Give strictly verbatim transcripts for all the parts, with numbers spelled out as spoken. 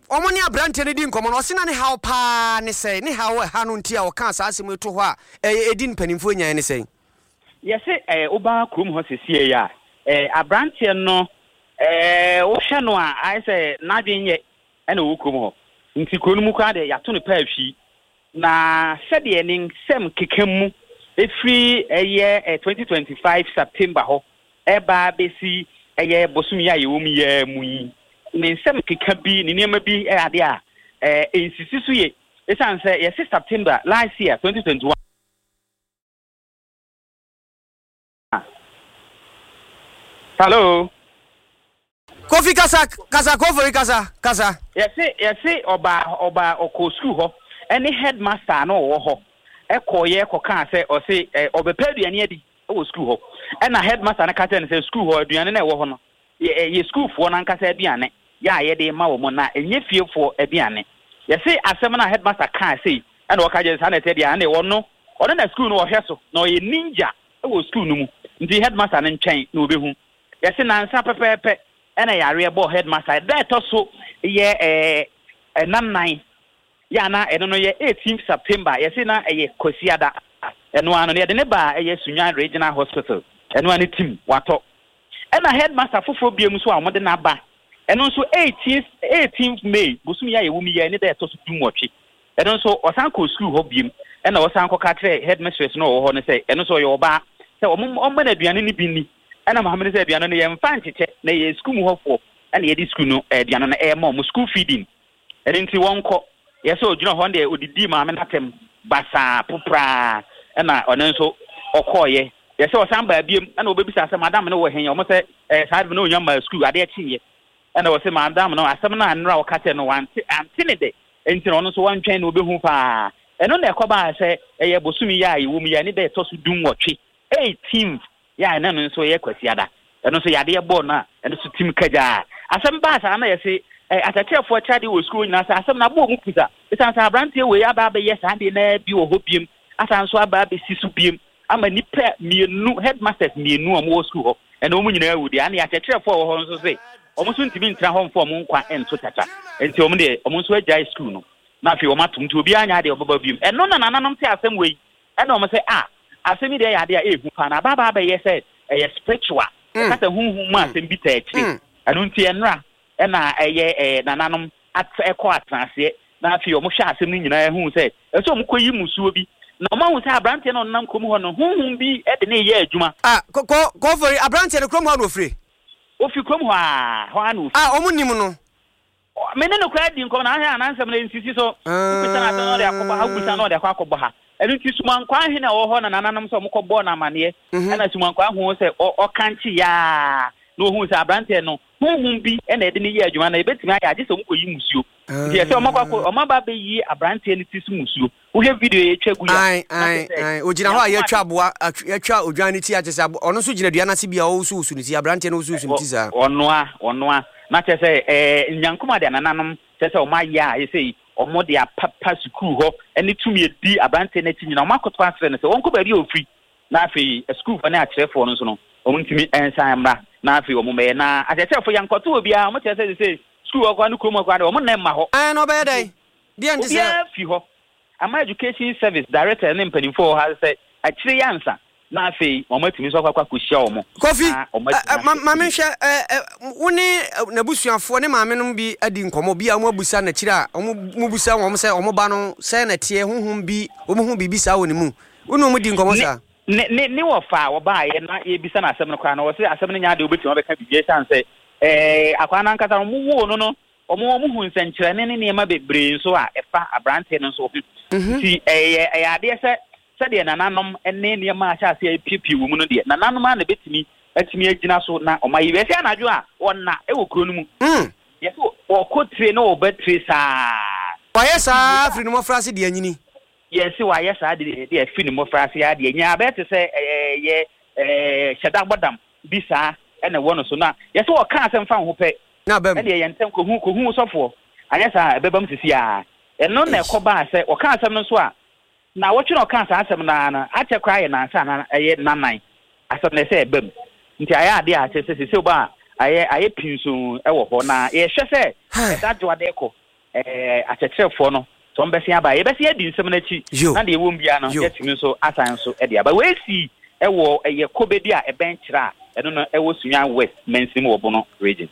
Wɔn ne aberanteɛ no di nkɔmmɔ no, ɔse na ne haw paa ne sɛn? Ne haw ɛha no nti a ɔkaa saa asɛm yi to hɔ a ɛyɛ ɛdi mpanimfoɔ nyaeɛ ne sɛn? Yɛse eh, woba kurom hɔ sesie yi a, eh, aberanteɛ no eh, wohwɛ no a ayɛ sɛ n'adwene nyɛ ɛna ɔwɔ kurom hɔ. Nti kuro no mu koraa deɛ yɛato no paa hwii. Na sɛdeɛ ne nsɛm keka mu ɛfiri ɛyɛ eh, twenty twenty-five September hɔ ɛba bɛsi ɛyɛ bosom yi a yɛwɔ mu yi mu yi, ne nsɛm keka bi, ne nneɛma bi ɛyɛ adeɛ a eh, ɛnsisi so yie. Ɛsiane sɛ yɛse September last year twenty twenty-one. Hello. Kofi kasa kasa Kofi kasa kasa. Yɛse yɛse ɔbaa ɔbaa ɔkɔ sukuu hɔ ɛne headmaster no ɔwɔ hɔ ɛkɔɔyɛ kɔkaa sɛ ɔse ɛ ɔbɛpɛ aduane adi ɛwɔ sukuu hɔ, ɛna headmaster no ka kyerɛ no sɛ sukuu hɔ aduane no ɛwɔ hɔ no yɛ yɛ sukuufoɔ no ankasa aduane yɛ a yɛde ma wɔn na ɛnyɛ fiefoɔ aduane. Yɛse asɛm no a headmaster kaa sei ɛna ɔka kyerɛ saa na ɛsɛ deɛ ɛna ɔno ɔno na sukuu no ɔhwɛ so na ɔyɛ ninja ɛwɔ sukuu no mu, nti headmaster no nkyɛn na ɔbɛhu. Yɛse nansa pɛpɛɛpɛ ɛna yareɛ bɔɔ headmaster da ɛtɔ so yɛ ɛɛ ɛnan nan yɛ ana ɛno no yɛ eighteenth September. Yɛse na ɛyɛ Kwasiada, ɛno ano no yɛde ne baa ɛyɛ Sunyani Regional Hospital, ɛno ano tim watɔ. Ɛna headmaster foforɔ biem nso a wɔde n'aba, ɛno nso eighteenth eighteenth May bosom yi a yɛwɔ mu yi ne da ɛtɔ so du nwɔtwe, ɛno nso ɔsan kɔ sukuu hɔ biem ɛna ɔsan kɔka kyerɛ headmistress no ɔwɔ hɔ no sɛ ɛno nso ɔyɛ ɔbaa sɛ ɔmo ɔmma no aduane no bi ni. Ɛna maame no sɛ aduane no yɛmfa nkyekyɛ na yɛ sukuu mu hɔfoɔ ɛna yɛde sukuu no aduane no ɛɛma ɔmo school feeding, ɛno nti wɔnkɔ. Yɛsɛ ogyina hɔ deɛ odidi maame n'atɛm basaa popraa, ɛna ɔno nso ɔkɔɔyɛ. Yɛsɛ ɔsan baa biem ɛna ɔbɛbisa sɛ madam no wɔ hɛn, ɔmo sɛ ɛɛ saa de no onya ma sukuu adeɛ kyeeɛ, ɛna ɔsɛ madam no asɛm no a nnora ɔka kyerɛ no wante ante ne de, nti na ɔno nso wantwɛn na ɔbɛhu paa. Ɛno na ɛkɔbaa sɛ ɛyɛ bosom yi a yɛwɔ mu yi a ne da ɛtɔ so du nwɔtwe eighteenth yɛ a ɛna no nso yɛ Kwasiada, ɛno nso yadeɛ bɔɔ no a ɛno nso tim kagyaa. Asɛm baa saa na yɛse ɛ akyerɛkyerɛfoɔ kyerɛ adeɛ wɔ sukuu nyinaa sɛ asɛm no abɔ ɔmu pusa, ɛsiane sɛ aberanteɛ wei aba abɛyɛ saa adeɛ naa bi wɔ hɔ biem, asan nso aba abɛsi so biem ama nnipa mmienu headmasters mmienu a wɔwɔ sukuu hɔ ɛna wɔn nyinaa awu deɛ. Ana akyerɛkyerɛfoɔ a wɔwɔ hɔ nso sɛ wɔn nso ntumi ntena hɔ mfa wɔn nkwa nto kyakya, nti wɔn deɛ wɔn nso agyae sukuu no na afei wɔn atom, nti obiara nya adeɛ ɔbɛba biem. Ɛno na nananom te asɛm wei ɛna wɔn sɛ a asɛm yi deɛ yɛ adeɛ a ɛɛhu paa na abaaba abɛyɛ sɛ ɛyɛ spiritual, ɛka sɛ honhom mu asɛm bi taa akyire. Ɛno nti ɛnora ɛna ɛyɛ ɛɛ nananom at ɛkɔ atenaseɛ na afei wɔn hwɛ asɛm no nyinaa ehu sɛ ɛsɛ wɔn kɔ yi musuo bi na wɔn ahu sɛ aberanteɛ no ɔnam kurom hɔ no honhom bi ɛde ne yɛ adwuma. Ah, kɔ kɔ kɔfɔri aberanteɛ no kurom hɔ na ofiri? Ofi kurom hɔ a hɔ a na ofi. Ah, wɔn nim no. Me ne no koraa di nkɔmɔ na ahwɛ anansɛm no nsisi so. Wobisa no asɛm na ɔde akɔbɔ ha, wobisa no ɔde akɔ akɔbɔ ha. Ɛno nti Sumankwaa ahene a ɔwɔ hɔ na nananom sɛ ɔmo kɔbɔɔ no amanneɛ. Ɛna Sumankwaa hu sɛ ɔkankye yaa na ohuu sɛ aberanteɛ no honhom bi ɛna ɛde ne yɛ adwuma na ebetumi ayɛ agye sɛ ɔmo kɔyi musuo. Nti ɛsɛ ɔmo akɔ ɔmo aba abɛyi aberanteɛ no ti so musuo. Wohwɛ video yɛ etwa gu ya. Ae ae ae ogyina hɔ a yɛatwa aboa yɛatwa odwan no ti akyɛ sɛ ɔno nso gyina dua n'ase bi a ɔwosowoso ne ti, aberanteɛ no wosowoso ne ti saa. Ɔnoa ɔnoa na kyerɛ sɛ ɛɛ nyankoma de anananom kyerɛ sɛ ɔmo ayɛ a ɛsɛ yi ɔmo de apapa sukuu hɔ ɛne tumi edi aberanteɛ n'akyi nyinaa ɔmo akoto asrɛ no sɛ wɔnkɔ baabi a ofiri na afei sukuufoɔ ne akyerɛfoɔ no nso no ɔmo ntumi nsan mmra na afei ɔmo mɛyɛ na akyerɛkyerɛfoɔ yɛnkɔto obiara ɔmo kyerɛ sɛ sɛ sukuu hɔ koraa ne kurom hɔ koraa de ɔmo nna mma hɔ. Ɛn na ɔbɛyɛ dɛn? Deɛ nti sɛ obiara fi hɔ ama education service director ne mpanimfoɔ wɔ ha sɛ akyire yɛ ansa na afei wɔn atumi nso akɔ akɔhyia wɔn. Kofi, ma menhwɛ wo ne n'abusuafoɔ ne maame nom bi adi nkɔmmɔ bi a wɔn abusa n'akyire a wɔn mu busa wɔn sɛ wɔn ba no sɛ na teɛ honhom bi wɔn ho biribi saa wɔ ne mu, wo ne wɔn di nkɔmmɔ saa? Ne ne ne wɔfa a wɔbaayɛ na yɛbisa no asɛm no koraa no wɔsɛ asɛm no nyɛ adeɛ wobɛtumi abɛka biribi ɛsiane sɛ ɛɛ akwadaa no ankasa wɔn woo no no wɔn wɔn hu nsɛnkyerɛnne ne nneɛma bebree nso a ɛfa aberanteɛ no nso ho. Nti ɛyɛ ɛyɛ adeɛ sɛ sɛdeɛ nananom ne nneɛma ahyɛ aseɛ apiepie wɔ mu no deɛ nananom a na bɛtumi atumi agyina so na ɔma yi yɛsɛ anadwo a ɔna ɛwɔ kuro no mu. Yɛsɛ ɔkɔ tire na ɔba tire saa. Wayɛ saa firi ne mmɔfra ase deɛ anyini. Yɛsɛ wayɛ saa de deɛ firi ne mmɔfra ase adeɛ nyinaa bɛyɛ te sɛ ɛyɛ ɛɛ hyɛda bɔdam bi saa ɛna ɛwɔ no so na yɛsɛ ɔka asɛm fa ho pɛ na bɛm ɛdeɛ yɛn ntɛm kohu kohu sɔfoɔ anyɛ saa ɛbɛbam sisi a ɛno na ɛkɔ baa sɛ ɔka asɛm no so a na wɔtwe na ɔka saa asɛm no ara no akyɛ koraa yɛ nansa na ɛyɛ nanan asɛm no ɛsɛ ɛbam nti ayɛ adeɛ a kyerɛ sɛ sɛ ɔba a ayɛ ayɛ pinso ɛwɔ hɔ na yɛhwɛ sɛ Ɛda dwoada kɔ ɛɛ akyerɛkyerɛfoɔ no sɛ wɔn bɛsen aba, yɛbɛsen adi nsɛm n'akyi na deɛ ɛwɔ mu biara no yɛtumi nso asan nso ɛde aba. Wɔasi ɛwɔ ɛyɛ Kobedi a ɛbɛn kyerɛ a ɛno no ɛwɔ Sunyani West mansini mu wɔ Bono Region.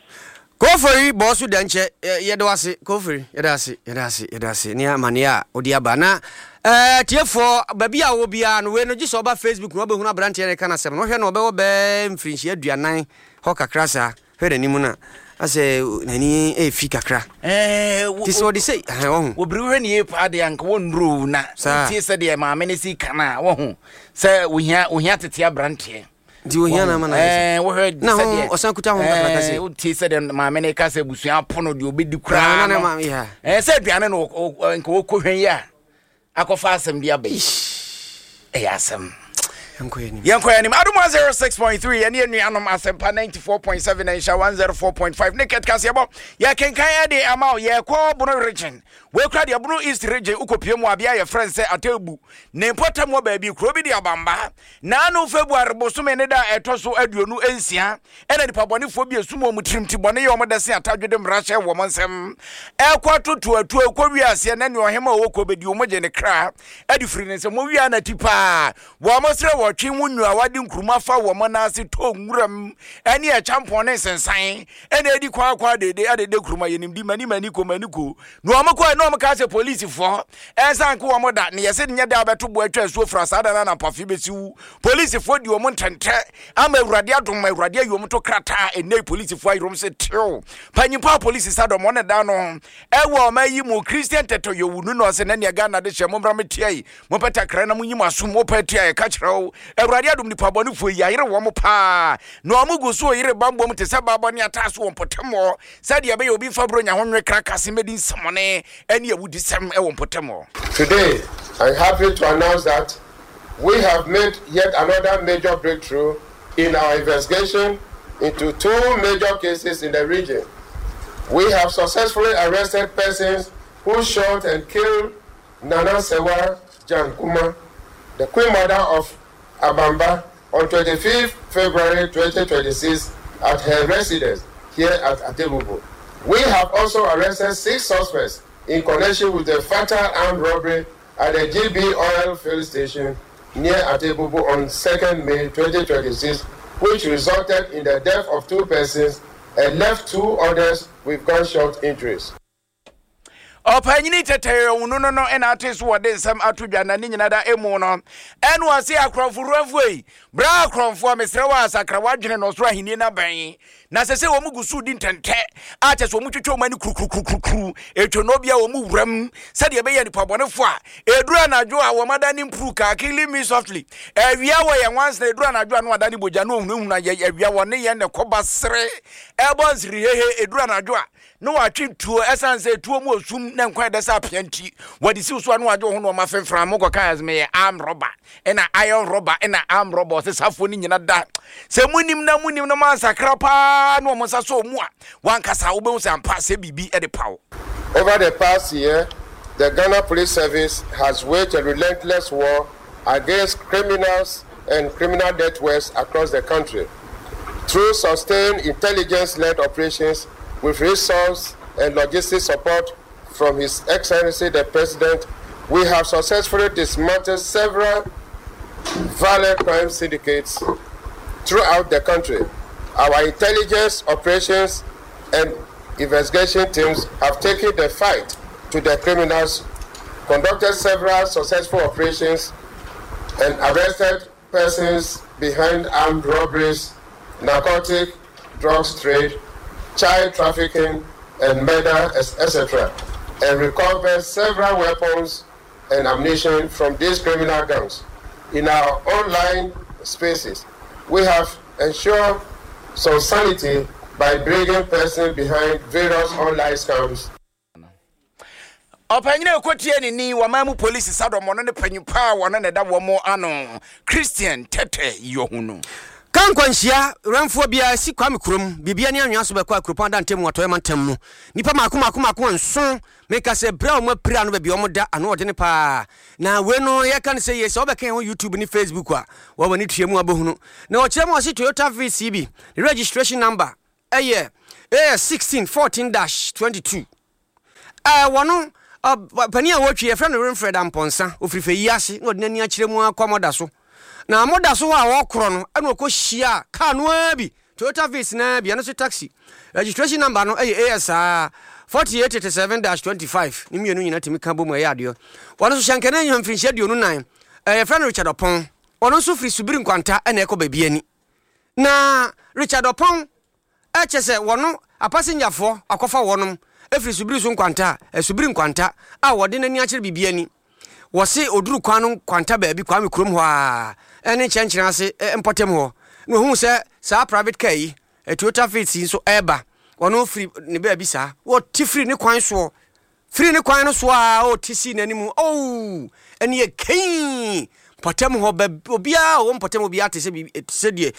Kofori bɔɔ so da nkyɛ, yɛde wase Kofori, yɛde ase, yɛde ase, yɛde ase ne amanneɛ a wode aba. Na ɛɛ tiefoɔ, baabi a wɔ biara no, wei no gye sɛ ɔba Facebook na wobɛhunu aberanteɛ no ka no asɛm no. Wohwɛ no, ɔbɛwɔ bɛɛ mfirinhyia aduanan hɔ kakra saa. Hwɛ n'anim no a, asɛ n'ani ɛfi kakra nti sɛ ɔde sɛ ɔho. Wɔbere wohwɛ ne yie paa deɛ, anka wɔnnuro na wotie sɛdeɛ maame no si ka no a, wɔho sɛ wohia wohia tete aberanteɛ. Nti ohia na ama na ayɛ sɛ wohwɛ na ho ɔsan kuta ho kakraka sɛ wotie sɛdeɛ maame no ka sɛ abusua apo no deɛ ɔbɛdi koraa no, sɛ aduane no nka wɔkɔhwɛ yi a akɔfa asɛm bi aba yi, ɛyɛ asɛm. Yɛnkɔ anim. Adom one oh six point three, yɛne anuanom Asɛmpa ninety-four point seven, nhyɛ one oh four point five ne kɛtkaseɛbɔ. Yɛkenkan ɛde ama wo. Yɛkɔ Bono Region, wɔkura deɛ Bono East Region. Wokɔpie mu abea yɛfrɛ n sɛ Atabu ne mpɔtam wɔ baabi kuro bi de Abamba. Naano February bosome ne da a ɛtɔ so aduonu nsia, ɛna nipa bɔnefoɔ bi esum wɔn tirim ti bɔne yɛ wɔn dɛse atadwede mmara hyɛ wɔn nsɛm ɛkɔ atoto atuo ɛkɔ wiaseɛ na nea ɔhema a ɔwɔ kɔ bɛdi wɔn gye ne kra ɛde firi ne nsɛm. Wɔn wia n'ati paa, wɔn srɛ wɔtwe ho nua wɔde nkuruma fa wɔn nan ase tɔ nwuram ɛne ɛkyampɔn ne nsensan ɛna edi kwan akɔ adede adede kuruma yɛnim di mani mani ko mani ko na wɔn kɔ na wɔn ka sɛ polisifoɔ ɛnsan ko wɔn da ne yɛsɛ nyɛ da abɛto bo atwa asuo fura saa da na nampafe bɛsi wu. Polisifoɔ di wɔn ntɛntɛ ama Awurade adom, Awurade ayi wɔn to krataa. Ɛnɛ polisifoɔ ayerɛm sɛ tew panyimpa a polisi sa dɔm ɔne da no ɛwɔ ɔma yi mu Christian Tɛtɛ Yɛwu no na ɔsɛ na nea Ghana de hyɛ mommra metia yi, mopɛ takra na monyi mo asom, mopɛ tia yɛka kyerɛ wo. Awurade adom, nipa bɔnefoɔ yi ayere wɔn paa na ɔmo gu so yere bambom te sɛ baabɔ ne ataa so wɔ mpɔtam hɔ sɛdeɛ ɛbɛyɛ obi mfa buro nya ho nwe kra kase mɛdi nsɛmɔne ɛne awudisɛm ɛwɔ mpɔtam hɔ. Today, I'm happy to announce that we have made yet another major breakthrough in our investigation into two major cases in the region. We have successfully arrested persons who shot and killed Nana Sewa Jankuma, the Queen Mother of Abamba, on twenty-fifth February twenty twenty-six at her residence here at Atebubu. We have also arrested six suspects in connection with the fatal armed robbery at the G B Oil Field Station near Atebubu on second May twenty twenty-six, which resulted in the death of two persons and left two others with gunshot injuries. Ɔpanyini tɛtɛ no no no ɛna ate so wɔde nsɛm ato dwa na ne nyina da emu no ɛna ɔse akorɔmfo wuramfoɔ yi bra, akorɔmfoɔ, mesrɛ wɔ asakra wadwene no ɔsoro ahenni no abɛn na sɛ sɛ wɔn gu so di ntɛntɛ a kyɛ sɛ wɔn twitwa wɔn ani kurukurukurukuru etwa no bia wɔn wuram sɛdeɛ ɛbɛyɛ nipa bɔnefoɔ a eduru anadwo a wɔn ada ne mpuru kaa "Killing me softly". Awia wɔ yɛn nwansena, eduru anadwo a no ada ne bogya no ohunahuna yɛ awia wɔ ne yɛn ne kɔba sere ɛbɔ nsiri hehe. Eduru anadwo a na watwe tuo, ɛsan sɛ tuo mu osum na nkwan ɛdɛ sɛ apea nti wɔde siw so a na wagye wo ho na ɔma femfra mo kɔka ɛsɛ meyɛ arm robber ɛna iron robber ɛna arm robber. Ɔsɛ safoɔ no nyina da sɛ munim na munim na mansakra paa na ɔmo nsa so mu a wankasa wobɛhu sɛ ampa sɛ biribi ɛde paw. Over the past year, the Ghana Police Service has waged a relentless war against criminals and criminal networks across the country. Through sustained intelligence-led operations with resource and logistic support from His Excellency the President, we have successfully dismantled several violent crime syndicates throughout the country. Our intelligence operations and investigation teams have taken the fight to the criminals, conducted several successful operations, and arrested persons behind armed robberies, narcotic drugs trade, child trafficking, and murder, et cetera, and recovered several weapons and ammunition from these criminal gangs. In our online spaces, we have ensured some sanity by bringing persons behind various online scams. Ɔpanyini a ɛkɔtie ne ni wɔma mu polisi sadɔm ɔno ne panyin paa wɔno ne da wɔ mo ano, Christian Tɛtɛ Yɔhunu. Ka nkwanhyia wɛmfoɔ biara si Kwame kurom biribia ne anwea so bɛkɔ Akuropɔn ada ntam Atɔeɛ mantam mu. Nnipa maako maako maako nson, meka sɛ berɛ a ɔmo apira no baabi a ɔmo da ano ɔdene paa. Na wei no yɛka no sɛ yie sɛ wobɛka yɛn ho YouTube ne Facebook a wɔwɔ ne tua mu abɛhunu. Na ɔkyerɛ mu ɔse Toyota Vitz bi ne registration number ɛyɛ A S sixteen fourteen dash twenty two. Ɛɛ wɔno panin a wɔtwi yɛfrɛ no Winfred Ampɔnsa, ofiri fɛ yi ase na ɔde n'ani akyerɛ mu akɔ mɔda so. Na mɔda so hɔ a wɔkorɔ no ɛna ɔkɔ hyia kaa no ara bi, Toyota Vitz naa bi, ɛno nso taxi. Registration number no ɛyɛ A S forty eight thirty seven dash twenty five. Ne mmienu nyinaa tumi ka bɔ mu ɛyɛ adeɛ. Wɔno nso hyɛnkɛnɛ anya mfirinhyia aduonu nan. Ɛɛ yɛfrɛ no Richard Ɔpɔn. Ɔno nso firi Subiri Nkwanta ɛna ɛkɔ baabi ani. Na Richard Ɔpɔn ɛkyɛ sɛ wɔno apasenyafoɔ akɔfa wɔnom ɛfiri Subiri so Nkwanta a Subiri Nkwanta a wɔde n'ani akyerɛ biribi ani. Wɔse oduru kwan no Nkwanta baabi Kwame kurom hɔ a ɛne nkyɛnkyɛn ase mpɔtam hɔ na ohun sɛ saa private car yi, Toyota Vitz yi nso ɛreba. Ɔno firi ne baabi saa wɔte firi ne kwan soɔ, firi ne kwan no so a ɔte si n'anim ooo, ɛne yɛ kɛn mpɔtam hɔ bɛ obiara a ɔwɔ mpɔtam obiara te sɛ biribi sɛ deɛ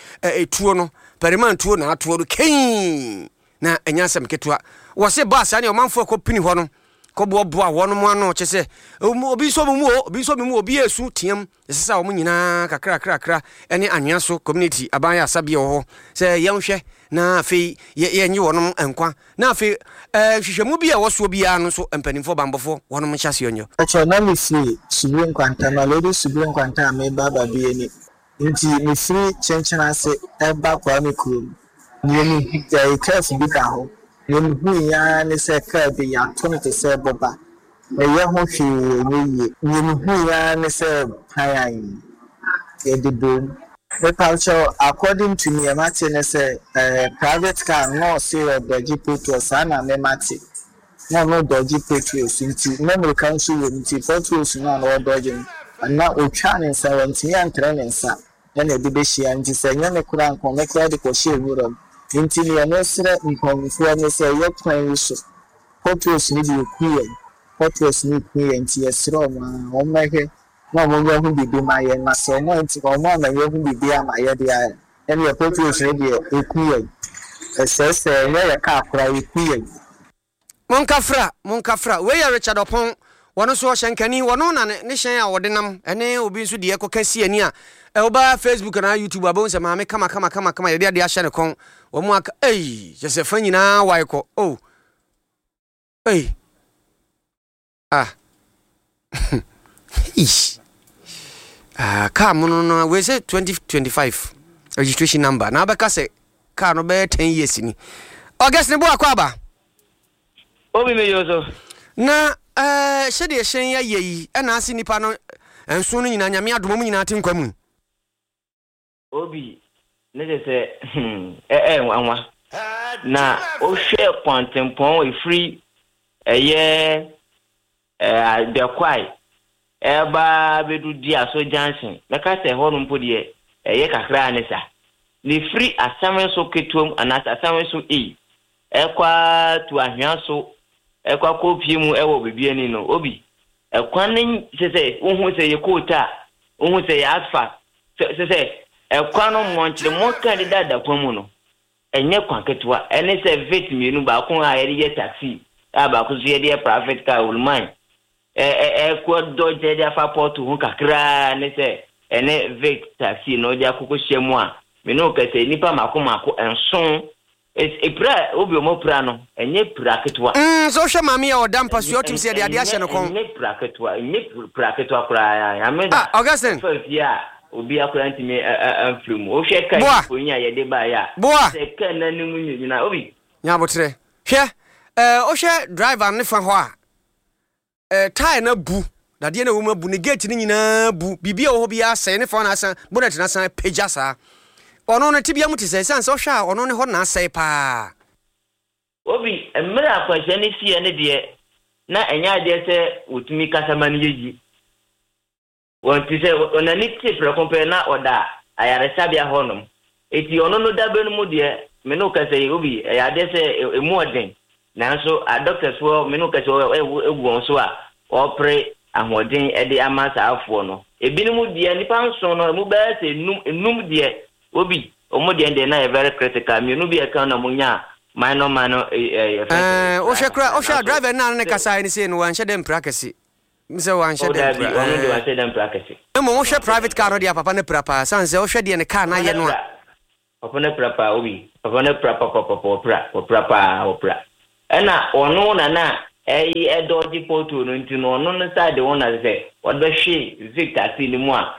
ɛtuo no pɛrɛman tuo na atoɔ no kɛn na ɛnyɛ asɛm ketewa. Wɔse baa saa ne ɔmanfoɔ kɔ pini hɔ no kɔboaboa wɔn ano kyɛ sɛ obi nso mu o, obi nso mu, obi esu team ɛsɛ sɛ wɔn nyinaa kakra kakra ɛne anwea so community aban yɛ asabea wɔ hɔ sɛ yɛnhwɛ na afei yɛ yɛnye wɔn nkwa na afei ɛɛ nhwehwɛmu bi a ɛwɔ soɔ biara no nso mpanimfoɔ bambɔfoɔ wɔn nhyɛ aseɛ nyɛ. Ɛkyɛ na mefiri Subiri Nkwanta na lady Subiri Nkwanta a meba Babiani, nti mefiri Kyenkyena ase ɛba Kwame kurom. Nea mehu ɛyɛ curve bi da hɔ. Nea mehu ara ne sɛ kaa bi yɛato no te sɛ bɔba. Ɛyɛ ho hwee ɛnyɛ yie. Nea mehu ara ne sɛ pan yɛde bom. Mepakyɛw, according to nea mate ne sɛ ɛɛ private car na ɔse ɔdɔgye petrol, saa na me mate. Na ɔno dɔgye petrols, nti na mmirika nso wɔ mu, nti petrols no a na ɔdɔgye no na otwa ne nsa, wantumi antrɛ ne nsa ɛna ɛde bɛhyia, nti sɛ ɛnyɛ ne koraa nka ɔno koraa de kɔhyɛ nwura mu. Nti nea mesrɛ mpanyinfoɔ ne sɛ ɛyɛ kwan yi so potholes no de eku yɛn, potholes no eku yɛn, nti yɛsrɛ ɔmo a wɔn mmɛhwɛ na wɔn nyɛ ho biribi ma yɛn, na sɛ wɔn anti wɔn ama yɛn ho biribi ama yɛ deɛ a, ɛnneɛ potholes no deɛ eku yɛn, ɛsɛesɛe, ɛnyɛ yɛ kaa koraa, eku yɛn. Monkafra, monkafra. Wei yɛ Richard Ɔpɔn, wɔno nso ɔhyɛnkani, wɔno na ne hyɛn a wɔde nam ɛne obi nso deɛ kɔka si ani a ɛwoba Facebook anaa YouTube abɛhu sɛ maame kama kama kama kama yɛde adeɛ ahyɛ ne kɔn. Wɔn mu aka ei kyɛ sɛ fa nyinaa wae kɔ oh ei ah ish ah car mu no no wei sɛ twenty twenty-five registration number na abɛka sɛ car no bɛyɛ ten years ni. August ne bo akɔ aba. Obi mi yo so. Na ɛɛ sɛdeɛ hyɛn ayɛ yi ɛna ase nipa no nson no nyinaa, Nyame adom, mu nyinaa te nkwa mu. Obi ne kyɛ sɛ hmm ɛɛ nwanwa na wohwɛ kwantempɔn efiri ɛyɛ ɛɛ Adakwae ɛba bɛdu Diaso Junction, mɛka sɛ ɛhɔ no mpo deɛ ɛyɛ kakra ne sa na efiri asɛm so ketewa mu anaasɛ asɛm so ei ɛkɔ to ahwea so ɛkɔ akɔ pie mu ɛwɔ beebi ani no, obi ɛkwan ne sɛ sɛ wohu sɛ yɛ coal tar, wohu sɛ yɛ asphalt, sɛ sɛ sɛ ɛkwan no mmɔnkyere mmɔka deda da kwan mu no ɛnyɛ kwan ketewa. Ɛne sɛ Vitz mmienu, baako a yɛde yɛ taxi a baako nso yɛde yɛ private car oluman ɛ ɛkɔ dɔgye de afa pɔtɔ ho kakraa ne sɛ ɛne Vitz taxi no de akokɔ hyia mu a mene wo kɛsɛ nipa mako mako nson epira. Obi ɔmo pira no ɛnyɛ pira ketewa. Mm, sɛ wohwɛ maame a ɔda mpa so ɔtum sɛ yɛde adeɛ ahyɛ no kɔn. Ɛnyɛ pira ketewa, ɛnyɛ pira ketewa koraa. Ame Ah, Augustine. Fa fie a obi akora ntumi amfiri mu. Wohwɛ kaa Boa. mfonyin a yɛde baeɛ a Boa. sɛ kaa n'anim nyinaa obi Nyabotrɛ, hwɛ ɛɛ wohwɛ driver ne fa hɔ a ɛɛ tyre no abu, dadeɛ no a ɛwɔ mu abu, ne gate no nyinaa bu, biribi a ɛwɔ hɔ biara asɛe, ne fa no asan bonnet no asan pagya saa. Ɔno no tebea mu te sɛ ɛsiane sɛ wohwɛ a ɔno ne hɔ na asɛe paa. Obi mmerɛ akwanhyia no siiɛ no deɛ na ɛnyɛ adeɛ sɛ wɔtumi kasa ma no yɛ yi wɔn ti sɛ ɔnani te prɛko pɛ na ɔda ayaresabea hɔnom, eti ɔno no dabe no mu deɛ me no kasa yi, obi ɛyɛ adeɛ sɛ emu ɔden, nanso adɔktafoɔ me no kasa ɛgu ɛgu wɔn so a ɔpere ahoɔden ɛde ama saa afoɔ no. Ebinom deɛ, nipa nson no emu bɛyɛ sɛ enum enum deɛ, obi wɔn deɛ deɛ na yɛ very critical, mmienu bi ɛka na mo nya minor minor ɛɛ ɛɛ. Ɛɛ wohwɛ kora, wohwɛ a driver no a ne kasa ne sei no wanhyɛ dɛ mpira kɛse sɛ wanhyɛ O dɛ dabi, mpira. ɔno deɛ ɛɛ wanhyɛ dɛ mpira kɛse. Mmom wohwɛ private car no deɛ, papa no pira paa, sane sɛ wohwɛ deɛ ne car no ayɛ no a Papa no pra paa, Obi. Papa no pra papapapa, ɔpra, ɔpra paa, ɔpra. Ɛna ɔno na na ɛyi ɛdɔgye pothole no, nti no ɔno no side wɔn na sɛ ɔde bɛhwe Vic taxi no mu a,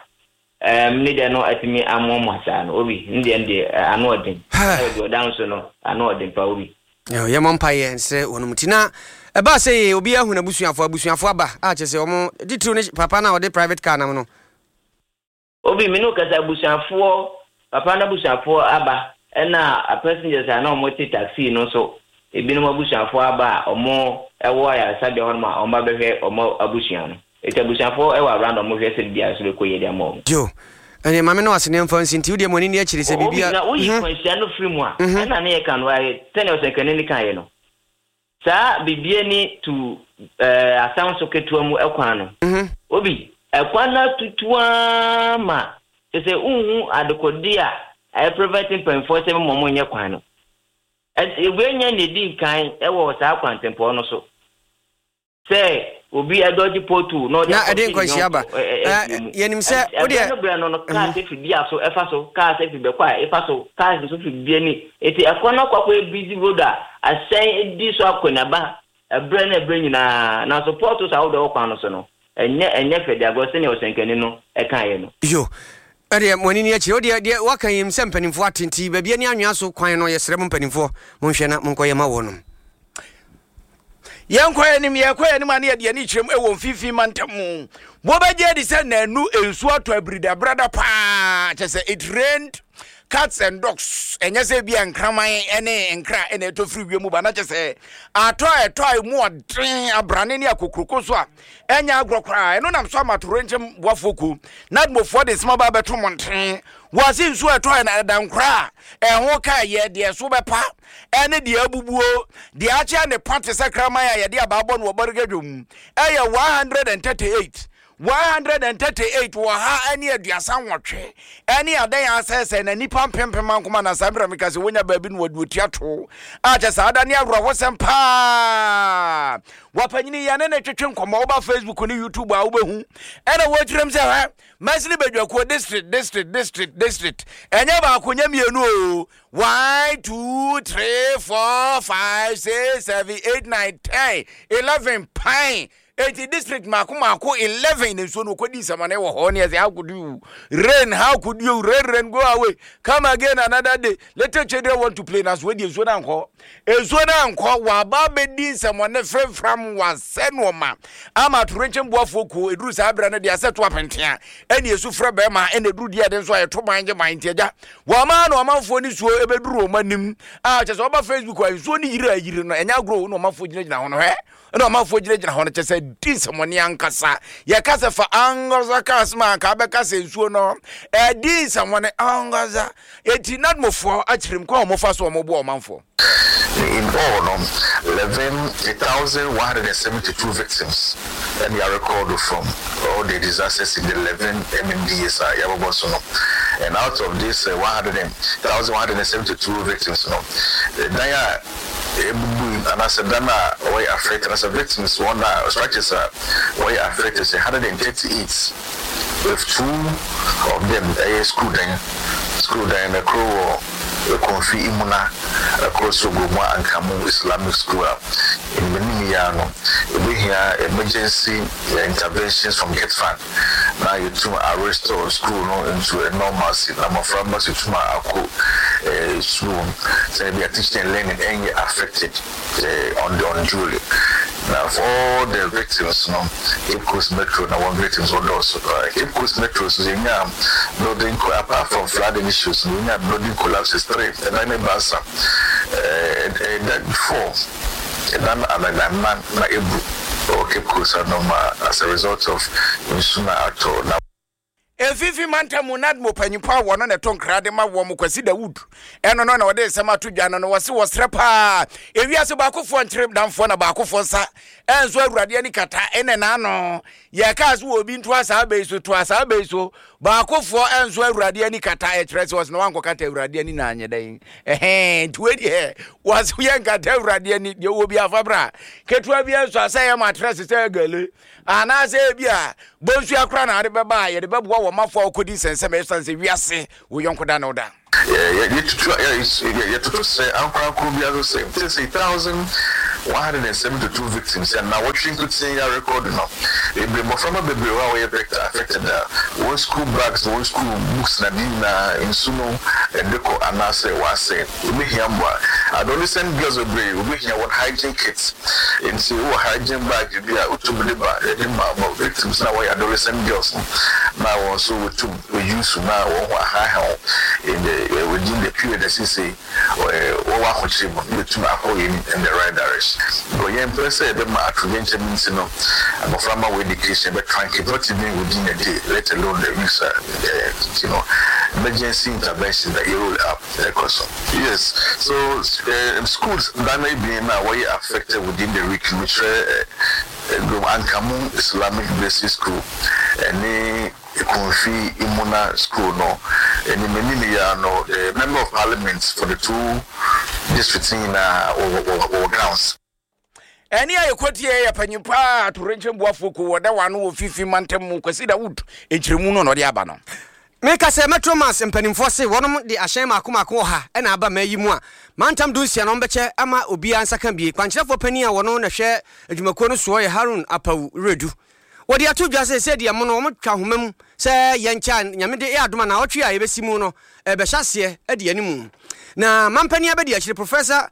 ɛɛm ne deɛ no atumi amoamoa saa no. Obi, ne deɛ no deɛ ano ɔden. Ɛna ɔda nso no ano ɔden pa, Obi. Yɛmmɔ mpaeɛ nsrɛ wɔnom. Nti na ɛbaa sɛ yɛ obi ahu n'abusuafoɔ, abusuafoɔ aba a kyerɛ sɛ ɔmo titiriw ne papa no a ɔde private car nam no. Obi, me ne wo kasa, abusuafoɔ, papa no abusuafoɔ aba, ɛna passengers a na ɔmo te taxi no nso, ebinom abusuafoɔ aba a ɔmo ɛwɔ ayaresabea hɔnom a ɔmo abɛhwɛ ɔmo abusua no. Eti abusuafoɔ ɛwɔ around, ɔmo hwɛ sɛ biribiara nso bɛkɔ yie de ama ɔmo. Yo, ɛneɛ maame no ase ne mfa nsi, nti wodeɛ mo ani ni akyiri sɛ Obi, biribia na woyi kwanhyia no firi mu a, ɛna ne yɛ ka no ayɛ sɛnea ɔsɛnkani ne kaeɛ no, saa bibie ni tu ɛɛ asan so ketewa mu ɛkwan no. Obi, ɛkwan no atutu ma kyɛ sɛ nhu adekode a ɛyɛ prevent mpanyinfoɔ sɛ mo mo nyɛ kwan no. Wei nyɛ ne di nkan ɛwɔ saa kwantempɔn no so sɛ obi ɛdɔgye pothole na ɔde Na ɛde nkwanhyia ba. Yɛnim sɛ wodeɛ ɛbrɛ no brɛ no no cars efi bia so ɛfa so, cars efi bɛkɔ a ɛfa so, cars nso fi bia ni, eti ɛkwan no akɔ akɔyɛ busy road a ahyɛn edi so akɔnaba ɛbrɛ no ɛbrɛ nyinaa. Nanso potholes ahodoɔ ɛwɔ kwan no so no, ɛnyɛ ɛnyɛ fɛ de agorɔ sɛnea ɔsɛnkani no ɛkaeɛ no. Yo, ɛdeɛ mo ani ni akyire, wodeɛ deɛ waka yim sɛ mpanimfoɔ ate, nti baabi ani anwea so kwan no, yɛsrɛ mo mpanimfoɔ, monhwɛ na monkɔyɛ ma wɔ nom. Yɛnkɔ anim, yɛkɔ anim a ne yɛde ani kyerɛm ɛwɔ Mfimfini Mantam mu. Wɔbɛgye adi sɛ nanu nsuo atɔ abiridabrada paa, kyɛ sɛ it rained cats and dogs. Ɛnyɛ sɛ bi a nkraman ne nkra ɛna ɛtɔ firi wiem ba, na kyɛ sɛ atɔ a ɛtɔ a emu ɔden, abrane ne akokuroko so a ɛnyɛ agorɔ koraa. Ɛno nam so ama atorenkyɛm boafoɔ kuo na admofoɔ de nsɛm aba abɛto mmɔnten. Wɔase nsuo ɛtɔ ɛ ɛda nkora a ɛho ka yɛ deɛ so bɛpa ɛne deɛ abubuo deɛ akyea ne pa te sɛ kraman a yɛde abaabɔ no wɔ bɔrega dwom ɛyɛ one hundred and thirty-eight, one hundred and thirty-eight wɔ ha ɛne aduasa nwɔtwe ɛne adan asɛesɛe na nipa mpempem ankoma na saa mmerɛ meka sɛ wonya baabi no wɔde otua to a kyɛ saa da ne awerɛhosɛm paa. Wapanyini yɛne ne twetwe nkɔmmɔ, woba Facebook ne YouTube a wobɛhu ɛna wɔkyerɛm sɛ hɛ mɛsene badwakuo district, district, district, district, ɛnyɛ baako, nyɛ mmienu o, one, two, three, four, five, six, seven, eight, nine, ten, eleven pan. Eti district mako mako eleven ne nsuo no okɔdi nsamane wɔ hɔ. Ne ɛsɛ, how could you rain, how could you rain, rain go away, come again another day, little children want to play. Na so wɔdi nsuo no ankɔ, nsuo no ankɔ, waba abɛdi nsɛmɔne fremfram, wasɛ nneɛma ama atorenkyɛn boafoɔ kuo. Eduru saa abirɛ no deɛ asɛ to apentea ɛne esu frɛ bɛrima ɛna eduru deɛ ɛde nso a yɛto ban gye ban. Nti agya wɔn na ɔmanfoɔ ne suo ebɛduru wɔn anim a kyɛ sɛ ɔba Facebook a nsuo ne yiri a yiri no ɛnyɛ agorɔ, na ɔmanfoɔ gyinagyina hɔ no hɛ, ɛna ɔmanfoɔ gyinagyina hɔ no kyɛ sɛ di nsɛmɔne ankasa. Yɛka sɛ fa ankasa ka asɛm a anka abɛka sɛ nsuo no ɛdi nsɛmɔne ankasa. Eti nadmofoɔ akyerɛ mu kwan a wɔfa so wɔn boa ɔmanfoɔ. In all, no, eleven thousand one hundred seventy-two victims and they are recorded from all the disasters in the eleven M M D As. Uh, so, no. And out of this uh, one thousand one hundred seventy-two victims, no, dan a ebubu anaasɛ dan a wɔyɛ affected anaasɛ victims wɔn a structures a wɔyɛ affected sɛ one hundred thirty-eight, with two of them ɛyɛ school dan. School dan na koro wɔ Ekumfi Imuna, ɛkoro so Gomoa Ankamu Islamic School a animanim yi ara no ebehia emergency interventions from GETFund na yɛtum a restore school no into a normalcy na mmɔfra mma so tum a akɔ eh, school sɛ ebi a teaching and learning ɛnyɛ affected eh, on the unduly. Na for all the victims no, Cape Coast Metro na one victims wɔ dɔɔso paa. Cape Coast Metro so yɛnya building, apart from flooding issues no, yɛnya building collapses three, ɛdan ne baasa, ɛdan four, ɛdan ananan na ebu ɛwɔ Cape Coast anom as a result of nsu na atɔ na Efifi mantam mu NADMO panyimpo a wɔno na ɛto nkra de ma wɔn, Kwasi Dawud, ɛno no na wɔde nsɛm ato dwa no no wɔse wɔserɛ paa ewiase baakofoɔ nkyere damfoɔ na baakofoɔ nsa ɛnso Awurade ani kata ɛne n'ano. Yɛkaa so wɔ obi nto asaa bɛyi so to asaa bɛyi so, baakofoɔ ɛnso Awurade ani kata, ɛkyerɛ sɛ wɔse na wankɔkata Awurade ani na anyɛ dɛn ɛhɛn. Nti wei deɛ wɔse yɛ nkata Awurade ani deɛ wɔ bi afa bra ketewa bi nso asɛ yɛ matress sɛ gale anaasɛ ebi a bonsu akora na ade bɛba a yɛde bɛboa wɔ mafoɔ a wɔkɔdi nsɛnsɛm ɛsiane sɛ wiase wo yɔnko da ne wo da. Yɛtoto sɛ ankorankoro biara so sɛ sɛ thousand one hundred and seventy two victims and na wɔtwe nkotin ya record no bebree, mmɔframma bebree hɔ a wɔyɛ vector affected a wɔn school bags, wɔn school books na ne nyinaa nsu no ɛde kɔ anaasɛ wɔasɛ. Obɛhia mmoa. Adolescent girls bebree obɛhia wɔn hygiene kits, nti wowɔ hygiene bag bi a wotumi de ba, yɛde ma ma victims na wɔyɛ adolescent girls no na wɔn nso wɔtum wɔyi na wɔn ho ahaha in the uh, within the period ɛsisi wɔwɔ ahokyere mu na yɛtum akɔ yɛn in the right direction, but yɛn mpɛ sɛ yɛbɛma atoyerɛnkyɛm nti no abɔframma wɔ education bɛ truncate, not even within a day, let alone the weeks. uh, you know emergency intervention that you roll up ɛkɔ so. Yes, so uh, schools dan ebien na wɔyɛ affected within the week, mekyerɛ uh, Ankamu Islamic Basic School ɛne Ekumfi Imuna School no. Ɛnim anim yɛ no, the member of parliament for the two districts nyinaa wɔ wɔ wɔ grounds. Ɛne a yɛkɔtie yɛ panyin paa atorenkyɛm boafoɔ ko wɔda wa no wɔ fifi mantam mu, Kwasi Dawood, nkyerɛmu no na ɔde aba no. Meka sɛ Metro Mass mpanimfoɔ se wɔnom de ahyɛn maako maako wɔ ha ɛna aba ma yi mu a mantam du nsia no ɔmbɛkyɛ ama obiara nsa ka bie. Kwankyerɛfoɔ panin a wɔno na hwɛ adwumakuo no soɔ yɛ Harun Apawu Redu. Wɔde ato dwa sɛ sɛdeɛ mo no wɔtwa ahoma mu sɛ yɛnkyɛ a Nyame de yɛ adoma na ɔtwe a yɛbɛsi mu no ɛbɛhyɛ aseɛ adi animu. Na mampanin abɛdi akyire, Professor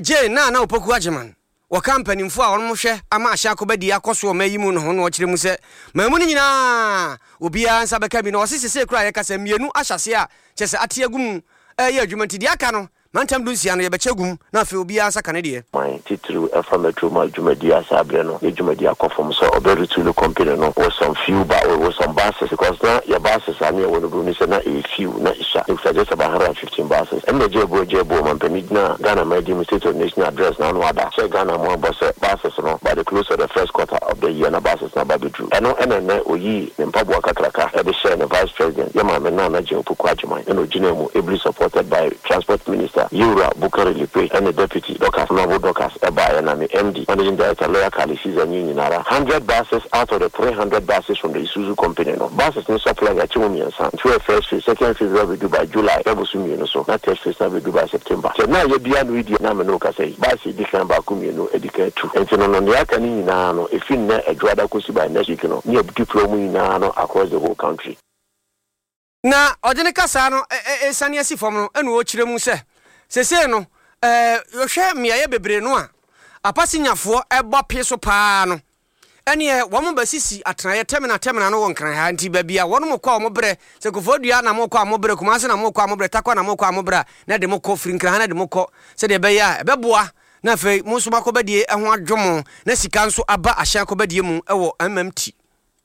Jane Naana Opoku Agyeman, wɔka mpanimfoɔ a wɔnom hwɛ ama ahyɛ akɔbɛdi akɔ so ɔma yi mu no ho no, ɔkyerɛ mu sɛ maamu no nyinaa obiara nsa bɛka bi na ɔse sesei koraa yɛka sɛ mmienu ahyɛ aseɛ a kyerɛ sɛ ate agu mu ɛyɛ adwuma, nti deɛ aka no mantam du nsia no yɛbɛkyɛ gum na afei obiara nsa ka ne deɛ. Man titiriw ɛfa Metro Mass dwumadi ase abrɛ no yɛ dwumadi akɔ fam sɛ ɔbɛ company no with some few ba with some buses, because na yɛ buses a ne yɛwɔ no bro ne sɛ na ɛyɛ few na ɛsua ɛkuta just about hundred and fifteen buses. Ɛnna gye ebo gye ebo mampanin gyina Ghana man di mu State of Nation Address na ano ada sɛ Ghana mo abɔ sɛ buses no by the close of the first quarter of the year na buses na ba bɛduru. Ɛno ɛna ɛnɛ oyi ne mpaboa kakraka ɛde hyɛ ne vice president, yɛ maame Nana Jane Opoku Agyeman, ɛna ogyina mu ably supported by Transport Minister Yewura Bukari Lipe ɛne Deputy Dorcas, Honourable Dorcas ɛbaeɛ, na me M D, Managing Director, Lawyer Kali Caesar nye nyinara. Hundred buses out of the three hundred buses from the Isuzu company no, buses ne supply yɛakyɛ mu mmiɛnsa, nti wɔyɛ first phase, second phase bɛbɛdu by July bɛbɔ so mmienu so, na third phase na bɛdu by September. Kyɛ na yɛbia no yi deɛ na me ne wo kasa yi, bus edi kan baako mmienu edi kan tu, nti no no nea aka ne nyinaa no efi nnɛ Adwoada kɔsi by next week no ne yɛ deploy mu nyinaa no across the whole country. Na ɔde ne kasa no ɛsane asi fam no, ɛna ɔkyerɛ mu sɛ sesei no ɛɛ yɛhwɛ mmeaeɛ bebree no a apasinyafoɔ ɛbɔ pee so paa no, ɛneɛ wɔn bɛsisi atenaeɛ terminal terminal no wɔ Nkran ha, nti baabi a wɔn kɔ a wɔn brɛ sɛ Koforidua na mo kɔ a mo brɛ, Kumase na mo kɔ a mo brɛ, Takwa na mo kɔ a mo brɛ a, na de mo kɔ firi Nkran ha na de mo kɔ sɛdeɛ ɛbɛyɛ a ɛbɛboa na afei mo nso makɔbɛdie ho adwo mo na sika nso aba ahyɛn akɔbɛdie mu ɛwɔ M M T.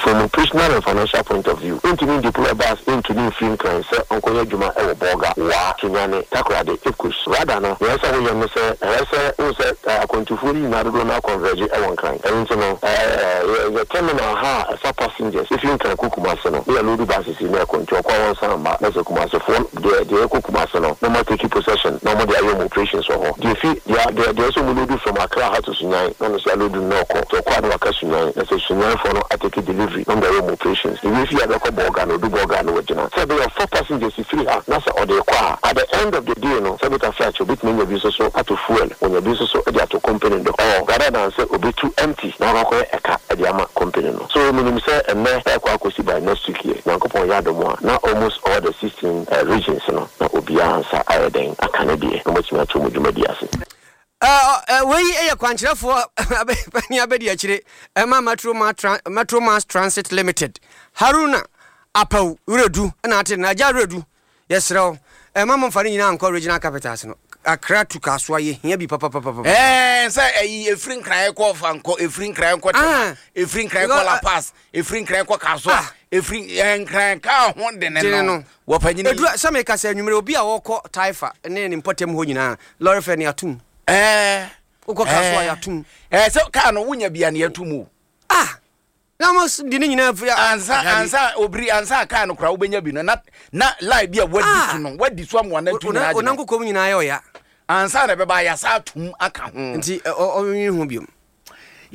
From operational and financial point of view, ntumi deploy bus ntumi nfiri Nkran sɛ ɔnkɔyɛ adwuma ɛwɔ Bɔɔga, Waa, Sunyani, Takoradi, Cape Coast. Rather no, nea ɛsɛ woyɛ no sɛ ɛyɛ sɛ wohu sɛ akwantufoɔ no nyinaa dodoɔ no aconverge ɛwɔ Nkran. Ɛno nti no ɛɛ yɛ terminal ha a ɛfa passengers efi Nkran kɔ Kumase no ne yɛ load buses yi na ɛkɔ, nti ɔkɔ a wɔnsan mma, na sɛ Kumasefoɔ deɛ deɛ ɛkɔ Kumase no na ɔmo take possession na ɔmo de ayɛ ɔmo operations wɔ hɔ. Deɛ fi deɛ deɛ deɛ ɛsɛ ɔmo load from Accra ha to Sunyani na ɔno nso aload no na ɔkɔ, nti ɔkɔ a na waka Sunyani, na sɛ Sunyanfoɔ no atake delivery na ɔmo de ayɛ ɔmo operations. Ebi fi abɛkɔ Bɔɔga na odu Bɔɔga no wɔgyina sɛ ɛbɛyɛ ɔfa passengers firi ha na sɛ ɔde kɔ a, at the end of the day no, sɛ bita flight obetumi anya bi nso so ato fuel, onya bi nso so de ato company do ɔ rather than sɛ obetu empty na wakɔkɔyɛ ɛka ɛde ama company no. So menim sɛ ɛnɛ ɛkɔ akɔsi by next week yɛ Nyankopɔn yɛ adom a, na almost all the sixteen uh, regions no na obiara nsa ayɛ dɛn aka ne deɛ na wɔatumi ato mu dwumadi ase. Wei yɛ kwankyerɛfoɔ pani abɛdi akyire ɛma Metro Metro Mass Transit Limited, Haruna Apaw Wuredu, ɛna ate na agya Wuredu. Yɛserɛ wo, ɛma momfa no nyinaa nkɔ regional capitals no. Accra to Kasoa yɛhia bi papapapa. Ɛɛ sɛ ɛyi efiri Nkran kɔ Fankɔ, efiri Nkran kɔ Tema, efiri Nkran kɔ La Paz, efiri Nkran kɔ Kasoa, efiri Nkran kaa ho dene no wɔ panyini. Edu sɛ meka sɛ anwummerɛ obi a wɔkɔ Taifa ne ne mpɔtam hɔ nyinaa, lorry fare ne atum. Ɛɛ wokɔ Kasoa yɛatum. Ɛɛ sɛ kaa no wonya bia ne yɛtum o. Ah, na mo di ne nyinaa firi ansa ansa obiri ansa kaa no kora wobɛnya bi no na na line bi a wadi so no wadi so ama wana tu nyinaa gyina onankokɔ mu nyinaa yɛ ɔya. Ansa na ɛbɛba yasa atum aka ho. Nti ɔnwi ho biom.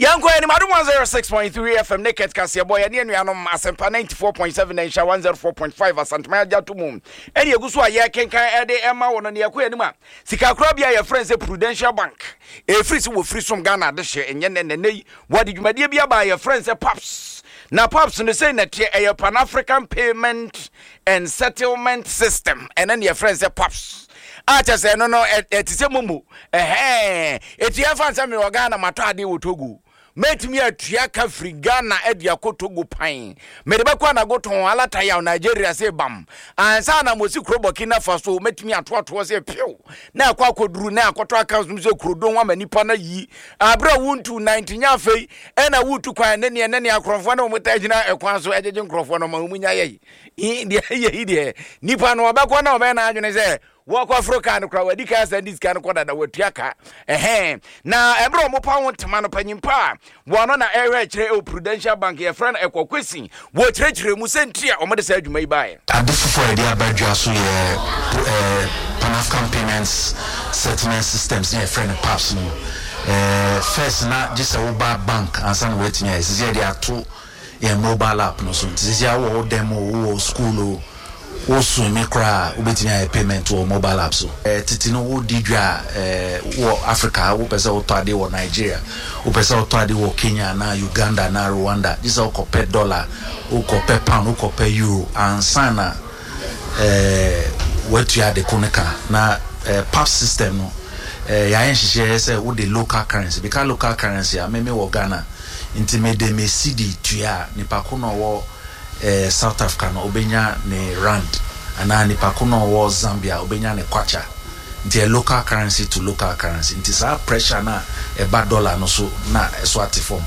Yɛnkɔ anim. Adom one oh six point three F M, Naked Kaseɛbɔ, yɛne anuanom Asɛmpa ninety-four point seven na nhyɛ one oh four point five Asanteman agya to mu, ɛne ɛgu so a yɛkenkan ɛde ɛma wɔ no. Ne yɛkɔ anim a, sikakorabea a yɛfrɛ no sɛ Prudential Bank, ɛfiri sɛ wɔfiri som Ghana adehyeɛ ɛnyɛ nɛ nɛnɛ yi, wɔde dwumadeɛ bi aba a yɛfrɛ no sɛ PAPSS. Na PAPSS no sei na teɛ: ɛyɛ Pan African Payment and Settlement System. Ɛno ne yɛfrɛ no sɛ PAPSS, a kyɛ sɛ ɛno no ɛte sɛ MoMo. Ɛhɛn, ɛti yɛmfa nsɛ mewɔ Ghana, matɔ adeɛ wɔ Togo, mɛtumi atua ka firi Ghana de akɔ Togo pan, mede bɛkɔ anago tɔn alatayaw Nigeria sɛ bam ansa na mosi kuro Burkina Faso, mɛtumi atoatoɔ sɛ pew na akɔ akɔduru na akɔtɔ account mu sɛ kurodon ama nipa no yi aberɛ a wontu nante nya. Afei ɛna wotu kwan ne neɛ ne ne akorɔmfoɔ ne wɔn ta gyina ɛkwan so ɛgyegye nkurɔfoɔ no ma wɔn nya yɛ yi deɛ yɛ yi deɛ, nipa no ɔbɛkɔ na ɔbɛyɛ n'adwene sɛ wɔkɔ foro kaa no kora, wadi kaa sɛ de sika no kɔ dada, watua ka. Ɛhɛn, na ɛberɛ a ɔmo pa ho ntoma no, panyimpa a wɔno na ɛhwɛ akyerɛ ɛwɔ Prudential Bank, yɛfrɛ no Ɛkɔ Kwesi, wɔkyerɛkyerɛ mu sɛ nti a ɔmode saa adwuma yi baeɛ. Ade foforɔ a yɛde aba dwa so yɛ eh, Pan African Payments Settlement Systems ne yɛfrɛ no PAPSS no. eh, first na gye sɛ woba bank ansa na woatumi ayɛ. Sisi yɛde ato yɛn mobile app no so, nti sisi a wowɔ wo dɛm o, wowɔ school o, wosome koraa, wobɛtumi ayɛ payment wɔ mobile app so. eh, tete no wodi dwa a, eh, wɔ Africa, wopɛ sɛ wotɔ ade wɔ Nigeria, wopɛ sɛ wotɔ ade wɔ Kenya anaa Uganda anaa Rwanda, gye sɛ wokɔpɛ dollar, wokɔpɛ pound, wokɔpɛ euro ansa na eh, watua ade ko no ka. Na eh, PAPSS system no, eh, yɛayɛ nhyehyɛeɛ sɛ wode local currency bika local currency a meme wɔ Ghana, nti mede me cedi tua a, nipa ko na ɔwɔ eh, South Africa no obɛnya ne rand, anaa nipa ko na ɔwɔ Zambia obɛnya ne kwacha. Nti ɛ local currency to local currency, nti saa pressure na ɛba dollar no so na ɛso ate fam.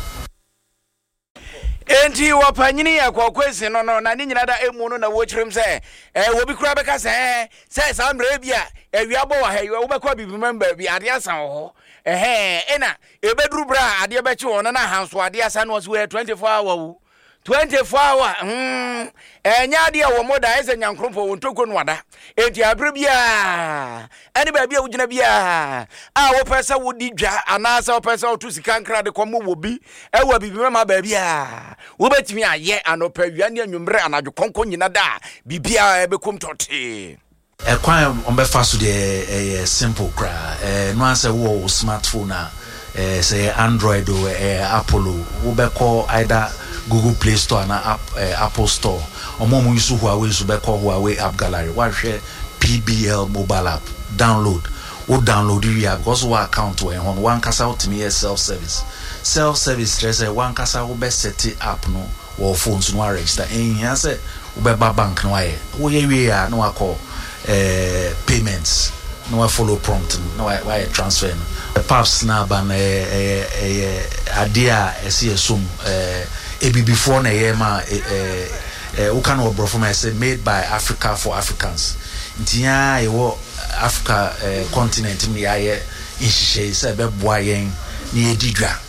Enti wɔpanyini yɛ kɔkɔesi no no na ne nyina da emu no na wɔkyerɛm sɛ eh, wɔbi koraa bɛka sɛ eh, sɛ saa mmerɛ bi a awia bɔ wɔ ha yi, wobɛkɔ abibimam baabi, adeɛ asa wɔ hɔ. Ɛhɛn, ɛna ɛbɛduru berɛ a adeɛ bɛkye wɔ no na ahanso adeɛ asa no, ɔso wɔyɛ twenty-four hour wo twenty-four hour. hmm ɛnyɛ adeɛ a wɔ mo da ɛsɛ nyankoropɔn wɔn ntoko no ada. Enti abere biara ɛne baabi a wogyina biara a wopɛ sɛ wodi dwa anaasɛ wopɛ sɛ woto sika nkra de kɔmmɔ wɔ bi ɛwɔ biribi mɛma baabi a wobɛtumi ayɛ anɔpa, awia ne anwummerɛ, anadwo kɔnkɔn nyina da a biribiara ɛbɛkom tɔtee. Ɛkwan a ɔmbɛfa so deɛ, ɛyɛ simple koraa. ɛɛ no ansɛ wowɔ wo smartphone a, ɛɛ sɛ ɛyɛ Android o, ɛyɛ Apple o, wobɛkɔ either Google Play Store ana app, ɛɛ Apple Store. Ɔmo a ɔmo use Huawei nso bɛkɔ Huawei App Gallery, wahwɛ P B L mobile app, download. Wo download wie a, because wɔ account wɔ ɛhɔ no, wankasa wotumi yɛ self service. Self service kyerɛ sɛ wankasa wobɛ set app no wɔ phone so no, wa register. Ɛnhia sɛ wobɛba bank no wayɛ. Woyɛ wie a, na wakɔ ɛɛ payments na wa follow prompt no na wayɛ transfer no. PAPSS na aba no, ɛyɛ ɛyɛ ɛyɛ adeɛ a ɛsɛ yɛ som ɛɛ ebibifoɔ na ɛyɛ ma ɛɛ ɛɛ woka no wɔ borɔfo ma ɛsɛ "made by Africa for Africans". Nti yɛn a yɛwɔ Africa ɛɛ continent mu, yɛayɛ nhyehyɛe sɛ ɛbɛboa yɛn na yɛdi dwa.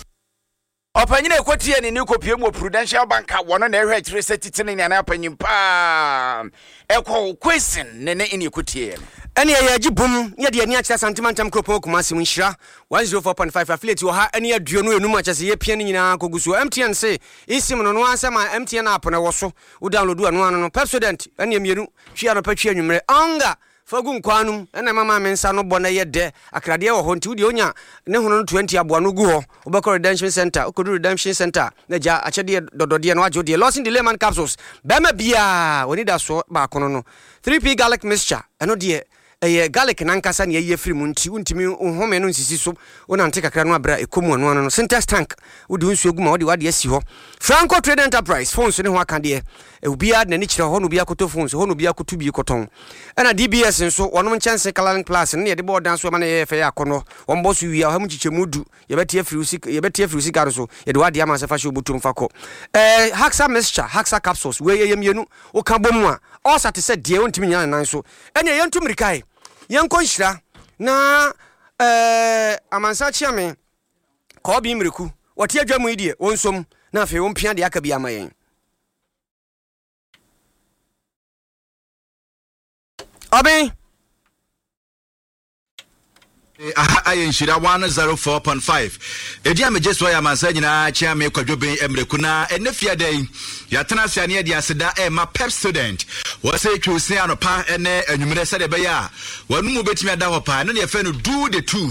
Ɔpanyini ɛkɔtie ne ne kɔpie mu wɔ Prudential Bank a wɔno na ɛhwɛ akyire sɛ titene ne anaa panyin paa ɛkɔ Kwesi ne ne ne ɛkɔtie no. Ɛne ɛyɛ agye bom ne yɛde ani akyerɛ Asantema ntam kuropɔn Kumase mu, Nhyira one oh four point five affiliate wɔ ha ɛne aduonu enum akyɛ sɛ yɛpia no nyinaa kɔgu so. M T N se eSIM no no ara sɛ ma M T N app no ɛwɔ so, wo download ɛno ano no. Pepsodent ɛne mmienu twi anɔpa, twi anwummerɛ. Ɔnga fa gu nkwan no mu ɛna mama me nsa no bɔ na ɛyɛ dɛ. Akradeɛ wɔ hɔ, nti wodeɛ wonya ne hono no aduonu aboa no gu hɔ, wobɛkɔ Redemption Center. Wokɔdu Redemption Center na gya akyɛdeɛ dɔdɔdeɛ no wagye wo deɛ. Lawson Delayman capsules, bɛrima biaa wɔni da soɔ baako no no three P garlic mixture, ɛno deɛ ɛyɛ garlic nankasa ne ayi afiri mu, nti wontumi home no nsisi so, wonante kakra no abrɛ a ɛkɔ mu ano ano no. Sintex tank, wode wo nsuo gu ma wode wade asi hɔ. Franco Trade Enterprise, phones ne ho aka deɛ, obiara de n'ani kyerɛ hɔ na obiara kɔtɔ phones hɔ na obiara kɔto bi kɔtɔn. Ɛna D B S nso wɔnom nkyɛnse Coloring Plus no ne yɛde bɔɔ dan so ɛma no yɛyɛ fɛ, yɛ akɔnnɔ. Wɔn bɔ so wie a, ɔha mu nkyekyɛmu du yɛbɛte afiri wo sika, yɛbɛte afiri wo sika no so, yɛde wade ama sɛ fa hyɛ obotom fa kɔ. ɛɛ haxa mixture, Haxa capsules, wei yɛyɛ mmienu, woka bɔ mu a ɔsa te sɛ deɛ wontumi nyina ne nan so. Ɛnea yɛntu mmirika yi, yɛnkɔ Nhyira na ɛɛ amansa kyea me kɔɔbi mmireku wɔte adwa mu yi deɛ wɔnsom na afei wɔmpia deɛ aka bi ama yɛn. Ɔben Aha ayɛ Nhyira one zero four point five. Edin a megye soɔ yɛ Amansan Nyinaa Kyeame Kwadwo Ben Mmerɛku na ɛnnɛ fiada yi yɛatena ase a ne yɛde aseda ɛrema Pepsodent. Wɔsɛ twiw se anɔpa ne anwummerɛ sɛdeɛ ɛbɛyɛ a w'anomu bɛtumi ada hɔ paa. Ɛno ne yɛfrɛ no do the two.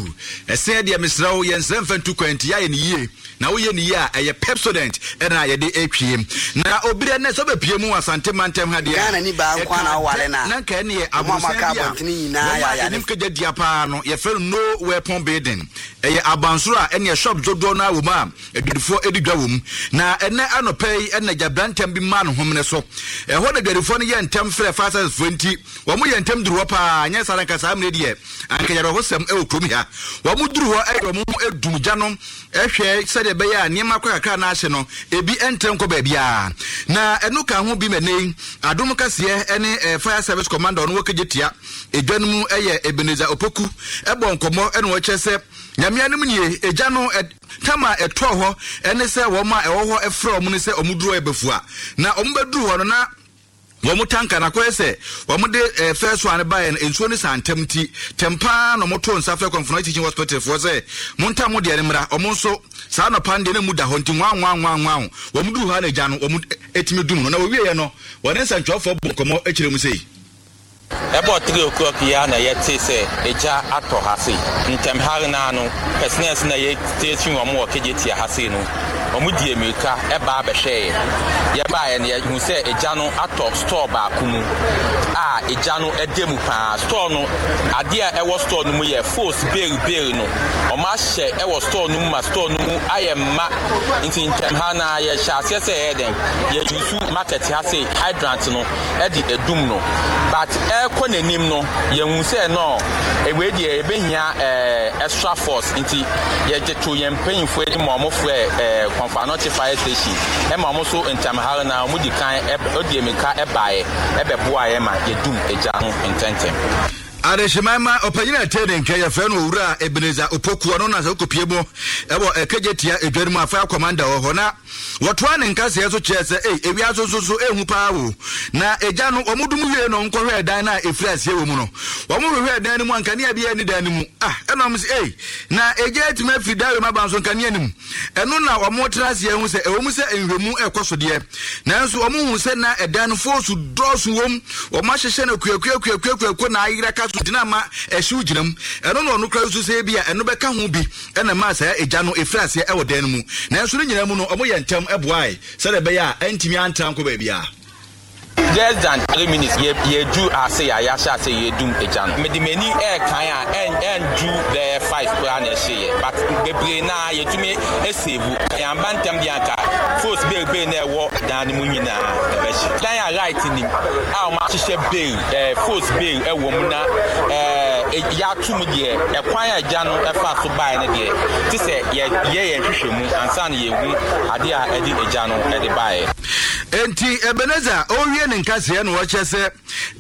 Ɛseɛ deɛ mesrɛ wo yɛnsrɛ mfa ntu kwan nti yɛayɛ no yie. Na woyɛ no yie a ɛyɛ Pepsodent ɛna yɛde ɛtwie. Na obiri ɛnnɛ sɛ wobɛpie mu wɔ Asante mantam ha deɛ a Ghana ni baa nko ara na ɛka woware dɛ no a, na nka ɛneɛ wɔn a aborosan wɔaka bi a abɔntene nyinaa wɔn yɛ a ayarefo. ɛnim kagya dua paa no yɛfrɛ no No Weapon Building. Ɛyɛ abansoro a ɛneɛ shop dodoɔ no ara wɔ mu a adwadifoɔ di dwa wɔ mu. Na ɛnnɛ anɔpa yi na gyabrantam bi maa ne homene so. Ɛhɔ na adwadifoɔ no yɛɛ ntɛm frɛɛ fire service foɔ nti wɔn yɛɛ ntɛm duru hɔ paa anyɛ saa na anka saa mmerɛ deɛ anka yɛawerɛhosɛm wɔ kurom ha. Wɔn duru hɔ de wɔn ho dum gya no hwɛ sɛdeɛ ɛbɛyɛ a nneɛma kɔ kakra na ahye no ebi ntrɛ nkɔ baabiara. Na ɛno ka ho bi ma ɛnnɛ yi Adom Kaseɛ ne Fire Service Commander ɔno wɔ Kejetia edwa no mu yɛ Ebenezer Opoku bɔ nkɔmmɔ na ɔkyerɛ sɛ Nyame anom nie egya no tam a ɛtɔɔ hɔ ne sɛ wɔn a ɛwɔ hɔ frɛ wɔn no sɛ wɔn duru hɔ yɛ bafua na wɔn bɛduru hɔ no na wɔn tanka no akɔyɛ sɛ wɔn de eh, first one baeɛ no nsuo no saa ntɛm nti tɛm paa na wɔn to nsa frɛ Kɔmfono Teaching Hospital foɔ sɛ montam mo deɛ no mmra. Wɔn nso saa anɔpa no deɛ na mu da hɔ nti nwa nwa nwa nwa wɔn duru hɔ a na egya no wɔn etumi dum no na wɔwieɛ no wɔne nsɛntwerɛfoɔ bɔ nkɔmmɔ kyerɛ mu sei. Ɛbɔɔ three o'clock yi ara na yɛtee sɛ egya atɔ ha sei. Ntɛm hare no ara no, personnels no a yɛstation wɔn wɔ Kejetia ha sei no, wɔdii mmirika baa bɛhwɛeɛ. Yɛbaeɛ no, yɛhuu sɛ egya no atɔ store baako mu a egya no da mu pa ara. Store no, adeɛ a ɛwɔ store no mu yɛ fos bale bale no, wɔahyɛ wɔ store no mu ma store no mu ayɛ ma. Nti ntɛm ha no ara yɛhyɛɛ aseɛ sɛ yɛyɛ dɛn, yɛ use market ha sei hydrant no de adum no. But ɛrekɔ n'anim no, yɛhu sɛ no, wei deɛ yɛbɛhia eh, extra force. Nti yɛgye to yɛn mpanyinfoɔ anim ma wɔfrɛ eh, Komfo Anokye Fire Station ɛma wɔn nso ntɛmhare no ara wɔdi kan ɛdi mmirika ɛbaeɛ ɛbɛboa yɛn ma yɛdum egya no ntɛntɛm. Adehyeman ma ɔpanyin a ɛtee ne nka yɛfrɛ no Owura Ebenezer Opoku, ɔno na sɛ wokɔpie mu wɔ Kejetia edwa no mu a fire commander wɔ hɔ na wɔtoa ne nkaseɛ so kyerɛɛ sɛ ei ewiase nso so ehu paa o na egya no wɔn dum wie no nkɔhwɛɛ dan no a efiri aseɛ wɔ mu no wɔn hwehwɛɛ dan no mu a nkanea biara nni dan no mu ah ɛna wɔn sɛ ei na egya atumi afiri dan wei mu aba nso nkanea no mu ɛno na wɔn tra aseɛ hu sɛ ɛwɔ mu sɛ nhwɛmu ɛkɔ so deɛ nanso wɔn hu sɛ na ɛdan no foosu dɔɔso wɔm wɔn ahyehyɛ no kuakuakuakuakuakuo na ayera ka so gyina ma ɛhyew gyina mu ɛno na ɔno kora nso sɛ ebi a ɛno bɛka ho bi ɛna ɛmaa saa egya no efiri aseɛ ɛwɔ dan no mu nanso ne nyinaa mu no wɔn yɛ ntɛm ɛboae sɛdeɛ ɛbɛyɛ a ɛntumi antra nkɔ baabiara. Less than three minutes yɛ yɛduru ase a yɛahyɛ ase yɛdum egya no. Mede m'ani ɛrekan a ɛndu bɛyɛ five koraa na ɛhyeeɛ but bebree no ara yɛtumi save. Yɛamba ntɛm deɛ anka fos bebree na ɛwɔ dan no mu nyinaa ɛbɛhye. Dan a light nim a wɔahyehyɛ bail ɛɛ fos bail ɛwɔ mu na ɛɛ yɛato mu deɛ ɛkwan a egya no ɛfaa so baeɛ no deɛ te sɛ yɛyɛ yɛn nhwehwɛmu ansa na yɛhu adeɛ a ɛde egya no ɛde baeɛ. Enti Ebenezer ɔrewie ne nkaseɛ na ɔkyerɛ sɛ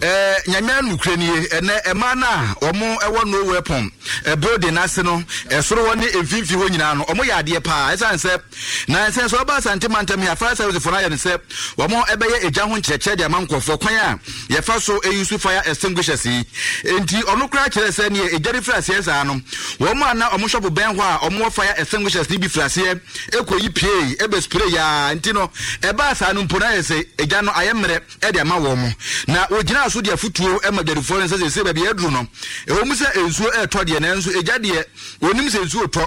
eh, Nyame anokorɛ nie, ɛnɛ ɛmaa no a wɔn ɛwɔ No Weapon building no ase no, ɛsoro hɔ ne mfimfini hɔ nyinaa no, wɔn yɛ adeɛ paa, ɛsiane sɛ na ɛsɛn sɛ ɔba Asante mantam yi a fire service foɔ no ayɛ no sɛ wɔn ɛbɛyɛ egya ho nkyerɛkyerɛ de ama nkurɔfoɔ kwan a yɛfa so use fire extinguishers yi. Enti ɔno koraa kyerɛ sɛ neɛ egya no firi aseɛ saa no, wɔn a na wɔn shop bɛn hɔ a wɔn wɔ fire extinguishers no bi firi aseɛ ɛkɔyi piei ɛbɛ spray yaa nti no ɛbaa saa no mpo no ayɛ sɛ egya no ayɛ mmerɛ de ama wɔn na wɔgyinaa so de afotuo ma dwadifoɔ no sɛ seesei baabi aduru no ɛwɔ mu sɛ nsuo ɛretɔ deɛ nanso egya deɛ wɔnim sɛ nsuo tɔ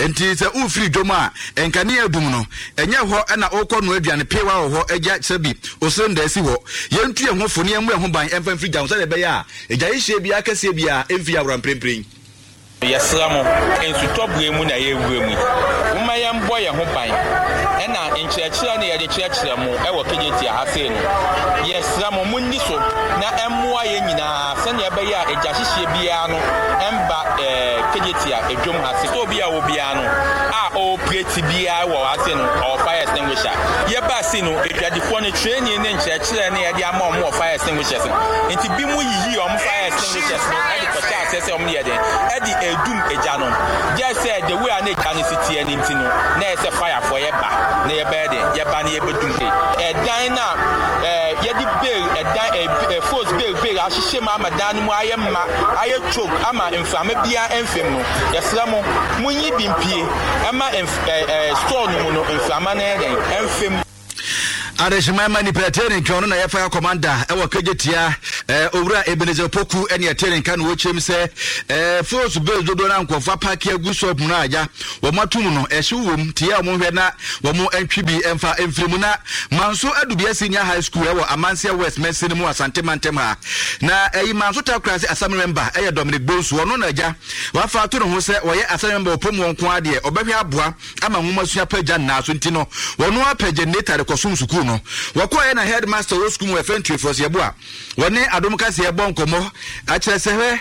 nti sɛ wofiri dwom a nkanea adum no ɛnyɛ hɔ na wokɔ noa aduane pewa wɔ hɔ agya sɛ bi osrenda asi hɔ yɛntu yɛn ho fo ne yɛmmɔ yɛn ho ban ɛmfa mfiri gya ho sɛdeɛ ɛbɛyɛ a egya hyehyeɛ biara kɛseɛ biara ɛmfiri awora mprempren. Yɛsrɛ mo, nsutɔ berɛ mu na yɛrewura mu yi, momma yɛmbɔ yɛn ho ban. Ɛna nkyerɛkyerɛ no yɛde kyerɛkyerɛ mo wɔ Kejetia ha sei no, yɛsrɛ mo monni so na ɛmmoa yɛn nyinaa sɛnea ɛbɛyɛ a egya hyehyeɛ biara no ɛmba ɛɛ Kejetia edwom ha sei. Store bi a wɔ biara no a ɔɔpreti biara wɔ ha sei no, ɔwɔ fire extinguisher. Yɛbaa sei no, adwadifoɔ no training ne nkyerɛkyerɛ no yɛde ama wɔn wɔ fire extinguishers no nti, binom yiyii wɔn fire extinguishers no de kɔhyɛɛ aseɛ sɛ wɔn yɛ den ɛde ɛredum egya no. Gyɛ sɛ the way a na egya no si teɛ no nti no, na ɛyɛ sɛ firefoɔ yɛ ba Na yɛbɛyɛ den, yɛba na yɛbɛdum. Ɛdan no a yɛde bale ɛdan fos bale bale ahyehyɛ mu ama dan no mu ayɛ ma ayɛ choke ama mframa biara mfam no, yɛsrɛ mo, monyi bi mpie ɛma store no mu no mframa no yɛ den ɛmfam. Adehyema ma nipa ɛte ne nka ɔno na yɛ fire commander ɛwɔ Kejetia ɛɛ owura Ebenezer Poku ɛne ɛte ne nka na wɔkyerɛ mu sɛ ɛɛ force base dodoɔ na nkurɔfoɔ apaaki agu shop mu no agya wɔn ato mu no ɛhyew wɔm te yɛ wɔn hwɛ na wɔn ntwi bi ɛmfa mfiri mu. Na Manso Adubia Senior High School ɛwɔ Amanseɛ West Mɛnsin mu Asante Mantam ha na ɛyi Manso Takorase Assembly member ɛyɛ Dominic Bonsu, ɔno na agya wafa ato ne ho sɛ wɔyɛ assembly member ɔpɔ mu wɔn nko adeɛ ɔbɛhwɛ aboa ama nwoma sua pagya nnaa so nti no wɔn apɛ generator de kɔsom sukuu no. Wɔkɔɛ na headmaster wɔ sukuu mu wɔfɛ Ntuefoɔ Yɛboa wɔne Adom Kaseɛ bɔ nkɔmmɔ akyerɛ sɛ hwɛ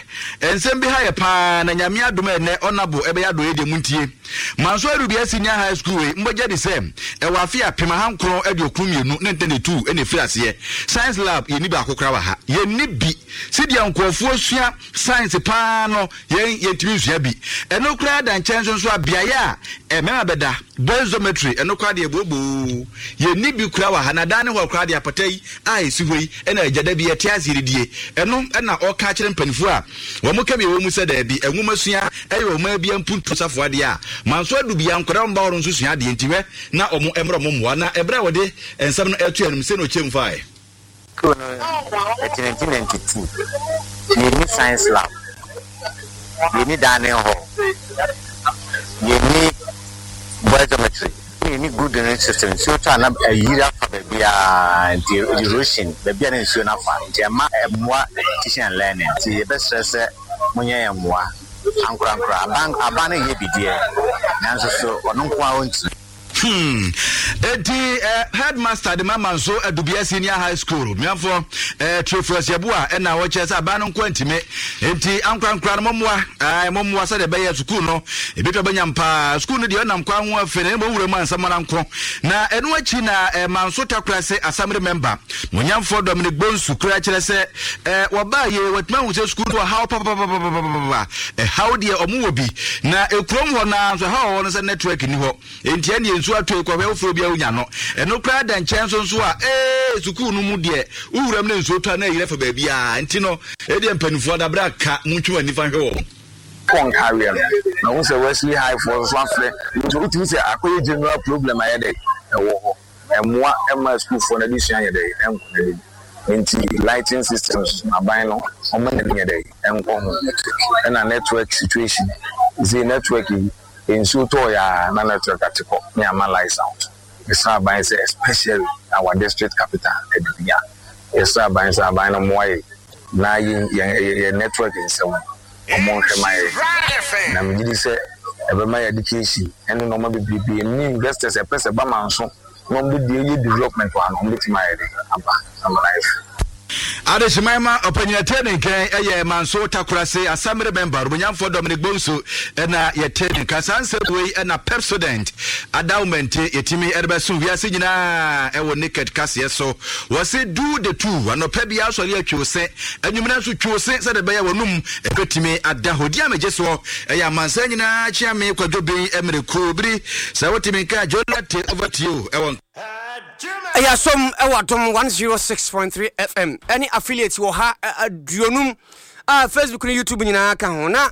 nsɛm bi ha yɛ paa na Nyame adom ɛnɛ ɔnabo ɛbɛyɛ adɔyɛ deɛ mu ntie. Manso Adubia Senior High School wei mbɔgya di sɛ ɛwɔ afe apem ahankron aduokron mmienu ne ntɛn etu ɛna efiri aseɛ. Science lab yɛnni baako koraa wɔ ha, yɛnni bi. Sɛdeɛ nkurɔfoɔ sua science paa no yɛn yɛntumi nsua bi. Ɛno koraa da nkyɛn nso nso a beaeɛ a mmarima bɛda boys dormitory ɛno koraa deɛ booboo yɛnni bi koraa wɔ ha. Na dan ne hɔ koraa deɛ apata yi a ɛsi hɔ yi ɛna agya da bi yɛte ase redie. Ɛno ɛna ɔka kyerɛ mpanimfoɔ a wɔn ka bi wɔ mu sɛ daabi nwoma sua ɛyɛ ɔman bi mpuntu safoa adeɛ a Manso Adubia nkwadaa wɔn ba hɔ no nso sua adeɛ nti hwɛ na wɔn mmerɛ wɔn mmoa. Na ɛberɛ a wɔde nsɛm no ɛto anim sɛ na ɔkyɛm fae. School no ɛti nineteen ninety-two yɛnni science lab, yɛnni dining hall, yɛnni boys dormitory, yɛnni good drainage system. Nsuo tɔ a na ayiri afa baabiara nti erosion baabi a na nsuo no afa nti ɛma ɛmmoa teaching and learning. Nti yɛbɛsrɛ sɛ monyɛ yɛn mmoa ankorankora. Aban aban no yɛ bideɛ nanso so ɔno nko ara ɔntumi. Hmm. Eti eh, headmaster de mama nso Adubia Senior High School miafo eh, Trefus Yeboah ɛna wɔkyerɛ sɛ aban no nko ntimi enti ankorankora no mɔmmoa eh, mɔmmoa sɛdeɛ ɛbɛyɛ sukuu no ebitwa bɛnya mpaa. Sukuu no deɛ ɔnam kwan ho afei na ɛmɔ wura mu ansamara nko. Na ɛno akyi na eh, Manso Takorase Assembly member Monyamfoɔ Dominic Bonsu kura kyerɛ sɛ eh, wɔbaa yie wɔatumi ahu sɛ sukuu no wɔ haw papapapapapapa. Ɛhaw deɛ ɔmo wɔ bi na ekurom hɔ naa nso ɛhaw wɔ hɔ no sɛ network ni hɔ enti ɛne nsuo atɔ ekɔhwɛ woforɔ bi a wonya no. Ɛno koraa da nkyɛn nso nso a ee sukuu no mu deɛ wowuram ne nsuo tɔ a na ɛyerɛ fa baabiara nti no ɛdeɛ mpanimfoɔ dabrɛ aka montwe wɔn nifa hwɛ wɔn. Kɔ nkareɛ no na wohu sɛ Wesley High foɔ nso afrɛ nti wotumi sɛ akɔyɛ general problem ayɛ dɛ ɛwɔ hɔ ɛmmoa ɛma sukuufoɔ no adesua yɛ dɛ ɛnkɔ n'anim. Nti lighting systems aban no ɔma n'ani yɛ dɛ ɛnkɔ ho. Ɛna network situation sɛ network yi nsuo tɔɔ yɛ a na network ate kɔ ne ama lights out. Yɛsrɛ aban sɛ especially our district capital Adubia, yɛsrɛ aban sɛ aban no mmoa yɛ na yɛ yɛ network nsɛm ɔmo nhwɛ ma yɛ. Na megye di sɛ ɛbɛma yɛ education ɛne nneɛma bebree ne investors ɛpɛ sɛ ba Manso na ɔmo bɛdi yɛ development wɔ ha no ɔmo bɛtumi ayɛ de aba ama no ayɛ fɛ. Adehyema ma ɔpanyin ɛte ne nkan ɛyɛ Manso Takorase Assembly member Romanyamfoɔ Dominic Bonsu ɛna yɛte ne nka. Saa nsɛm wei ɛna Pepsodent adawmente yɛtumi ɛde bɛso wiase nyinaa ɛwɔ naked kaseɛ so. Wɔse do the two anɔpɛ bi asɔre atwi se anwummerɛ nso twi se sɛde ɛbɛyɛ wɔnum ɛbɛtumi ada hɔ. Di a megye soɔ ɛyɛ amansan nyinaa kyea me Kwadwo Ben mmerɛ kuo biri sɛ wotumi nka Jonathan over to you ɛwɔ ɛyɛ asom ɛwɔ Adom one oh six point three F M ɛne affiliate wɔ ha aduonum a Facebook ne YouTube nyinaa ka ho. Na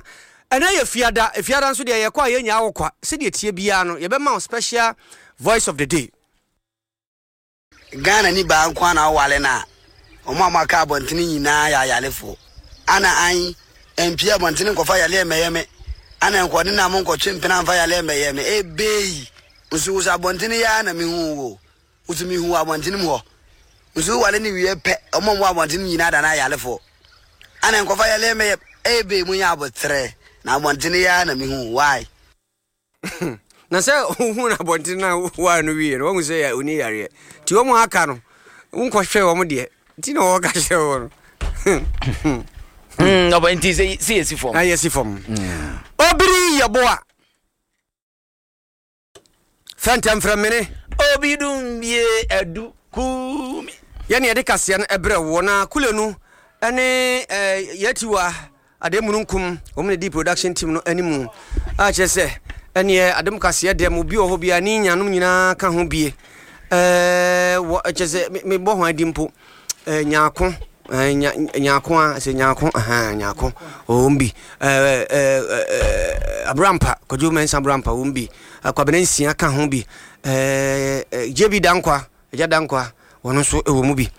ɛnɛ yɛ fiada, fiada nso deɛ yɛkɔ a yɛnya wɔ kwa sɛdeɛ tie biara no yɛbɛma wo special voice of the day. Ghana ni baa nko na awale na ɔmo a maka abɔntene nyinaa yɛ ayalefoɔ. Ana an mpie abɔntene nkɔfa yale mɛyɛ me. Ana nkɔde na mo nkɔtwe mpena mfa yale mɛyɛ me. Ebei nso wo sɛ abɔntene yɛ na mehu wo. Nso mehu abɔntene mu hɔ. Nso wale ne wie pɛ ɔmo mo abɔntene nyinaa da na ayalefoɔ. Ana nkɔfa yale mɛyɛ ebei mo nya abotrɛ na abɔntene yɛ na mehu why. Na sɛ wohu na abɔntene na wa no wie no wohu sɛ oni yareɛ nti wɔn aka no wonkɔhwɛ wɔn deɛ nti na wɔka kyerɛ wɔn no. Mm, ɔbɔ nti sɛ sɛ yɛsi fam. Na yɛsi fam. Obiri Yeboah. Fɛntɛm frɛ mene. Obi dum bie adu kumi. Yɛne yɛde kaseɛ no ɛbrɛ wɔ na kule no ɛne yɛtiwa ade mununkum wɔn ne di production team no animu a kyerɛ sɛ Ɛneɛ adom kaseɛ deɛ mo bi wɔ hɔ biara ne nyanom nyinaa ka ho bie. Ɛɛ wɔ kyɛ sɛ mebɔ ho adi mpo. Ɛɛ nyaako ɛɛ nya nyaako a sɛ nyaako ahan nyaako wɔn bi. Ɛɛ ɛɛ Abrampa Kwadwo Mensah Abrampa wɔn bi. Kwabena Nsia ka ho bi. Ɛɛ J B Dankwa Agya Dankwa wɔn nso wɔ mu bi.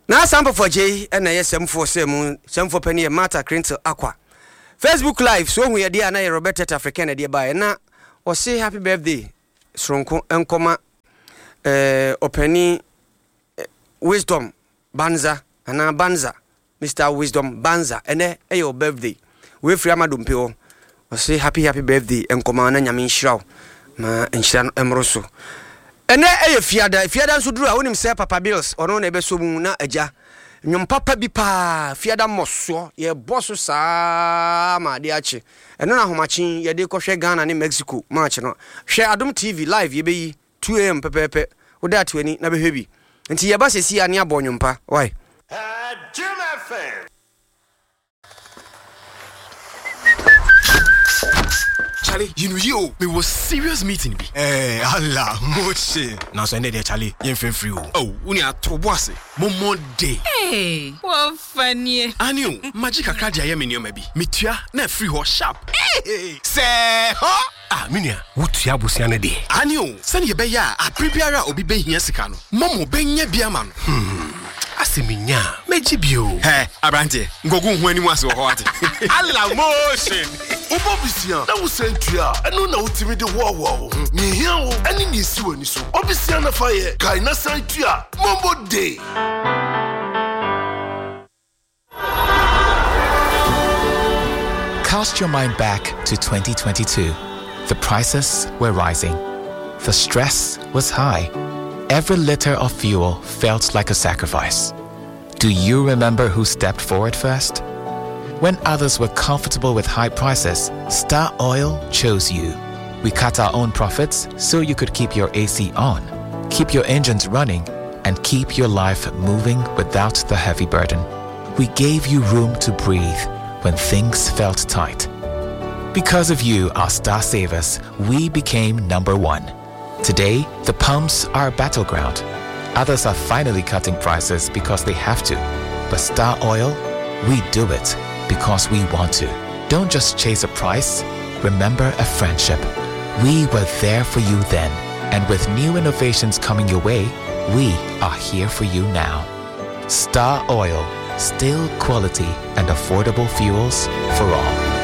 Na Sampofo Agyei na ɛyɛ sɛmfoɔ sɛ mu sɛmfoɔ panin yɛ Martha Crintle Akwa. Facebook Live so ohu yɛdeɛ a na yɛ Robert Tete African na ɛdeɛ baeɛ na ɔse happy birthday soronko nkɔma eh, ɔpanin eh, Wisdom Banza anaa Banza Mister Wisdom Banza ɛnɛ ɛyɛ wo birthday wei firi ama dompe hɔ ɔse happy happy birthday nkɔma na Nyame nhyira wo ma nhyira no ɛmmoro so ɛnɛ ɛyɛ fiada fiada nso duru a wonim sɛ Papa Bills ɔno na ɛbɛsɔ mu na agya nnwom papa bi paa fiada mmɔsoɔ yɛbɔ so saa ma adeɛ akye ɛno na ahomakye yɛde kɔhwɛ Ghana ne Mexico match no hwɛ Adom T V live yɛbɛyi two A M pɛpɛɛpɛ wode ato ani na bɛhwɛ bi nti yɛba sɛsi a ne abɔ nnwom pa why. Jim F M. Charlie, you know you, me was serious meeting bi. Eh, Allah, moche. Na so ende de Charlie, yɛn fɛn free o. Oh, woni ato bo ase. Momo day. Hey, wɔfa nie. Ani o, magye kakra de ayɛ me nneɛma bi. Metua na afiri hɔ sharp. Hey, sɛ hɔ. Ah, me nua, wotua abusua no deɛ. Ani o, sɛnea ɛbɛyɛ a abere biara a obi bɛhia sika no, Momo bɛnya bi ama no. Hmm. Asɛ menya a, mɛgye bio. Hɛ, aberanteɛ, nkɔgu wo ho anim ase wɔ hɔ ate. Allah motion. Wobɔ bisia na wosan tua a ɛno na wotumi de hoahoa wo ho nea ehia wo ɛne nea esi w'ani so ɔbisia na fa yɛ kae na san tua Momo Day. Cast your mind back to twenty twenty-two. The prices were rising. The stress was high. Every liter of fuel felt like a sacrifice. Do you remember who stepped forward first? When others were comfortable with high prices, Star Oil chose you. We cut our own profits so you could keep your A C on, keep your engines running, and keep your life moving without the heavy burden. We gave you room to breathe when things felt tight. Because of you, our Star Savers, we became number one. Today, the pumps are a battleground. Others are finally cutting prices because they have to. But Star Oil, we do it because we want to. Don't just chase a price, remember a friendship. We were there for you then, and with new innovations coming your way, we are here for you now. Star Oil, still quality and affordable fuels for all.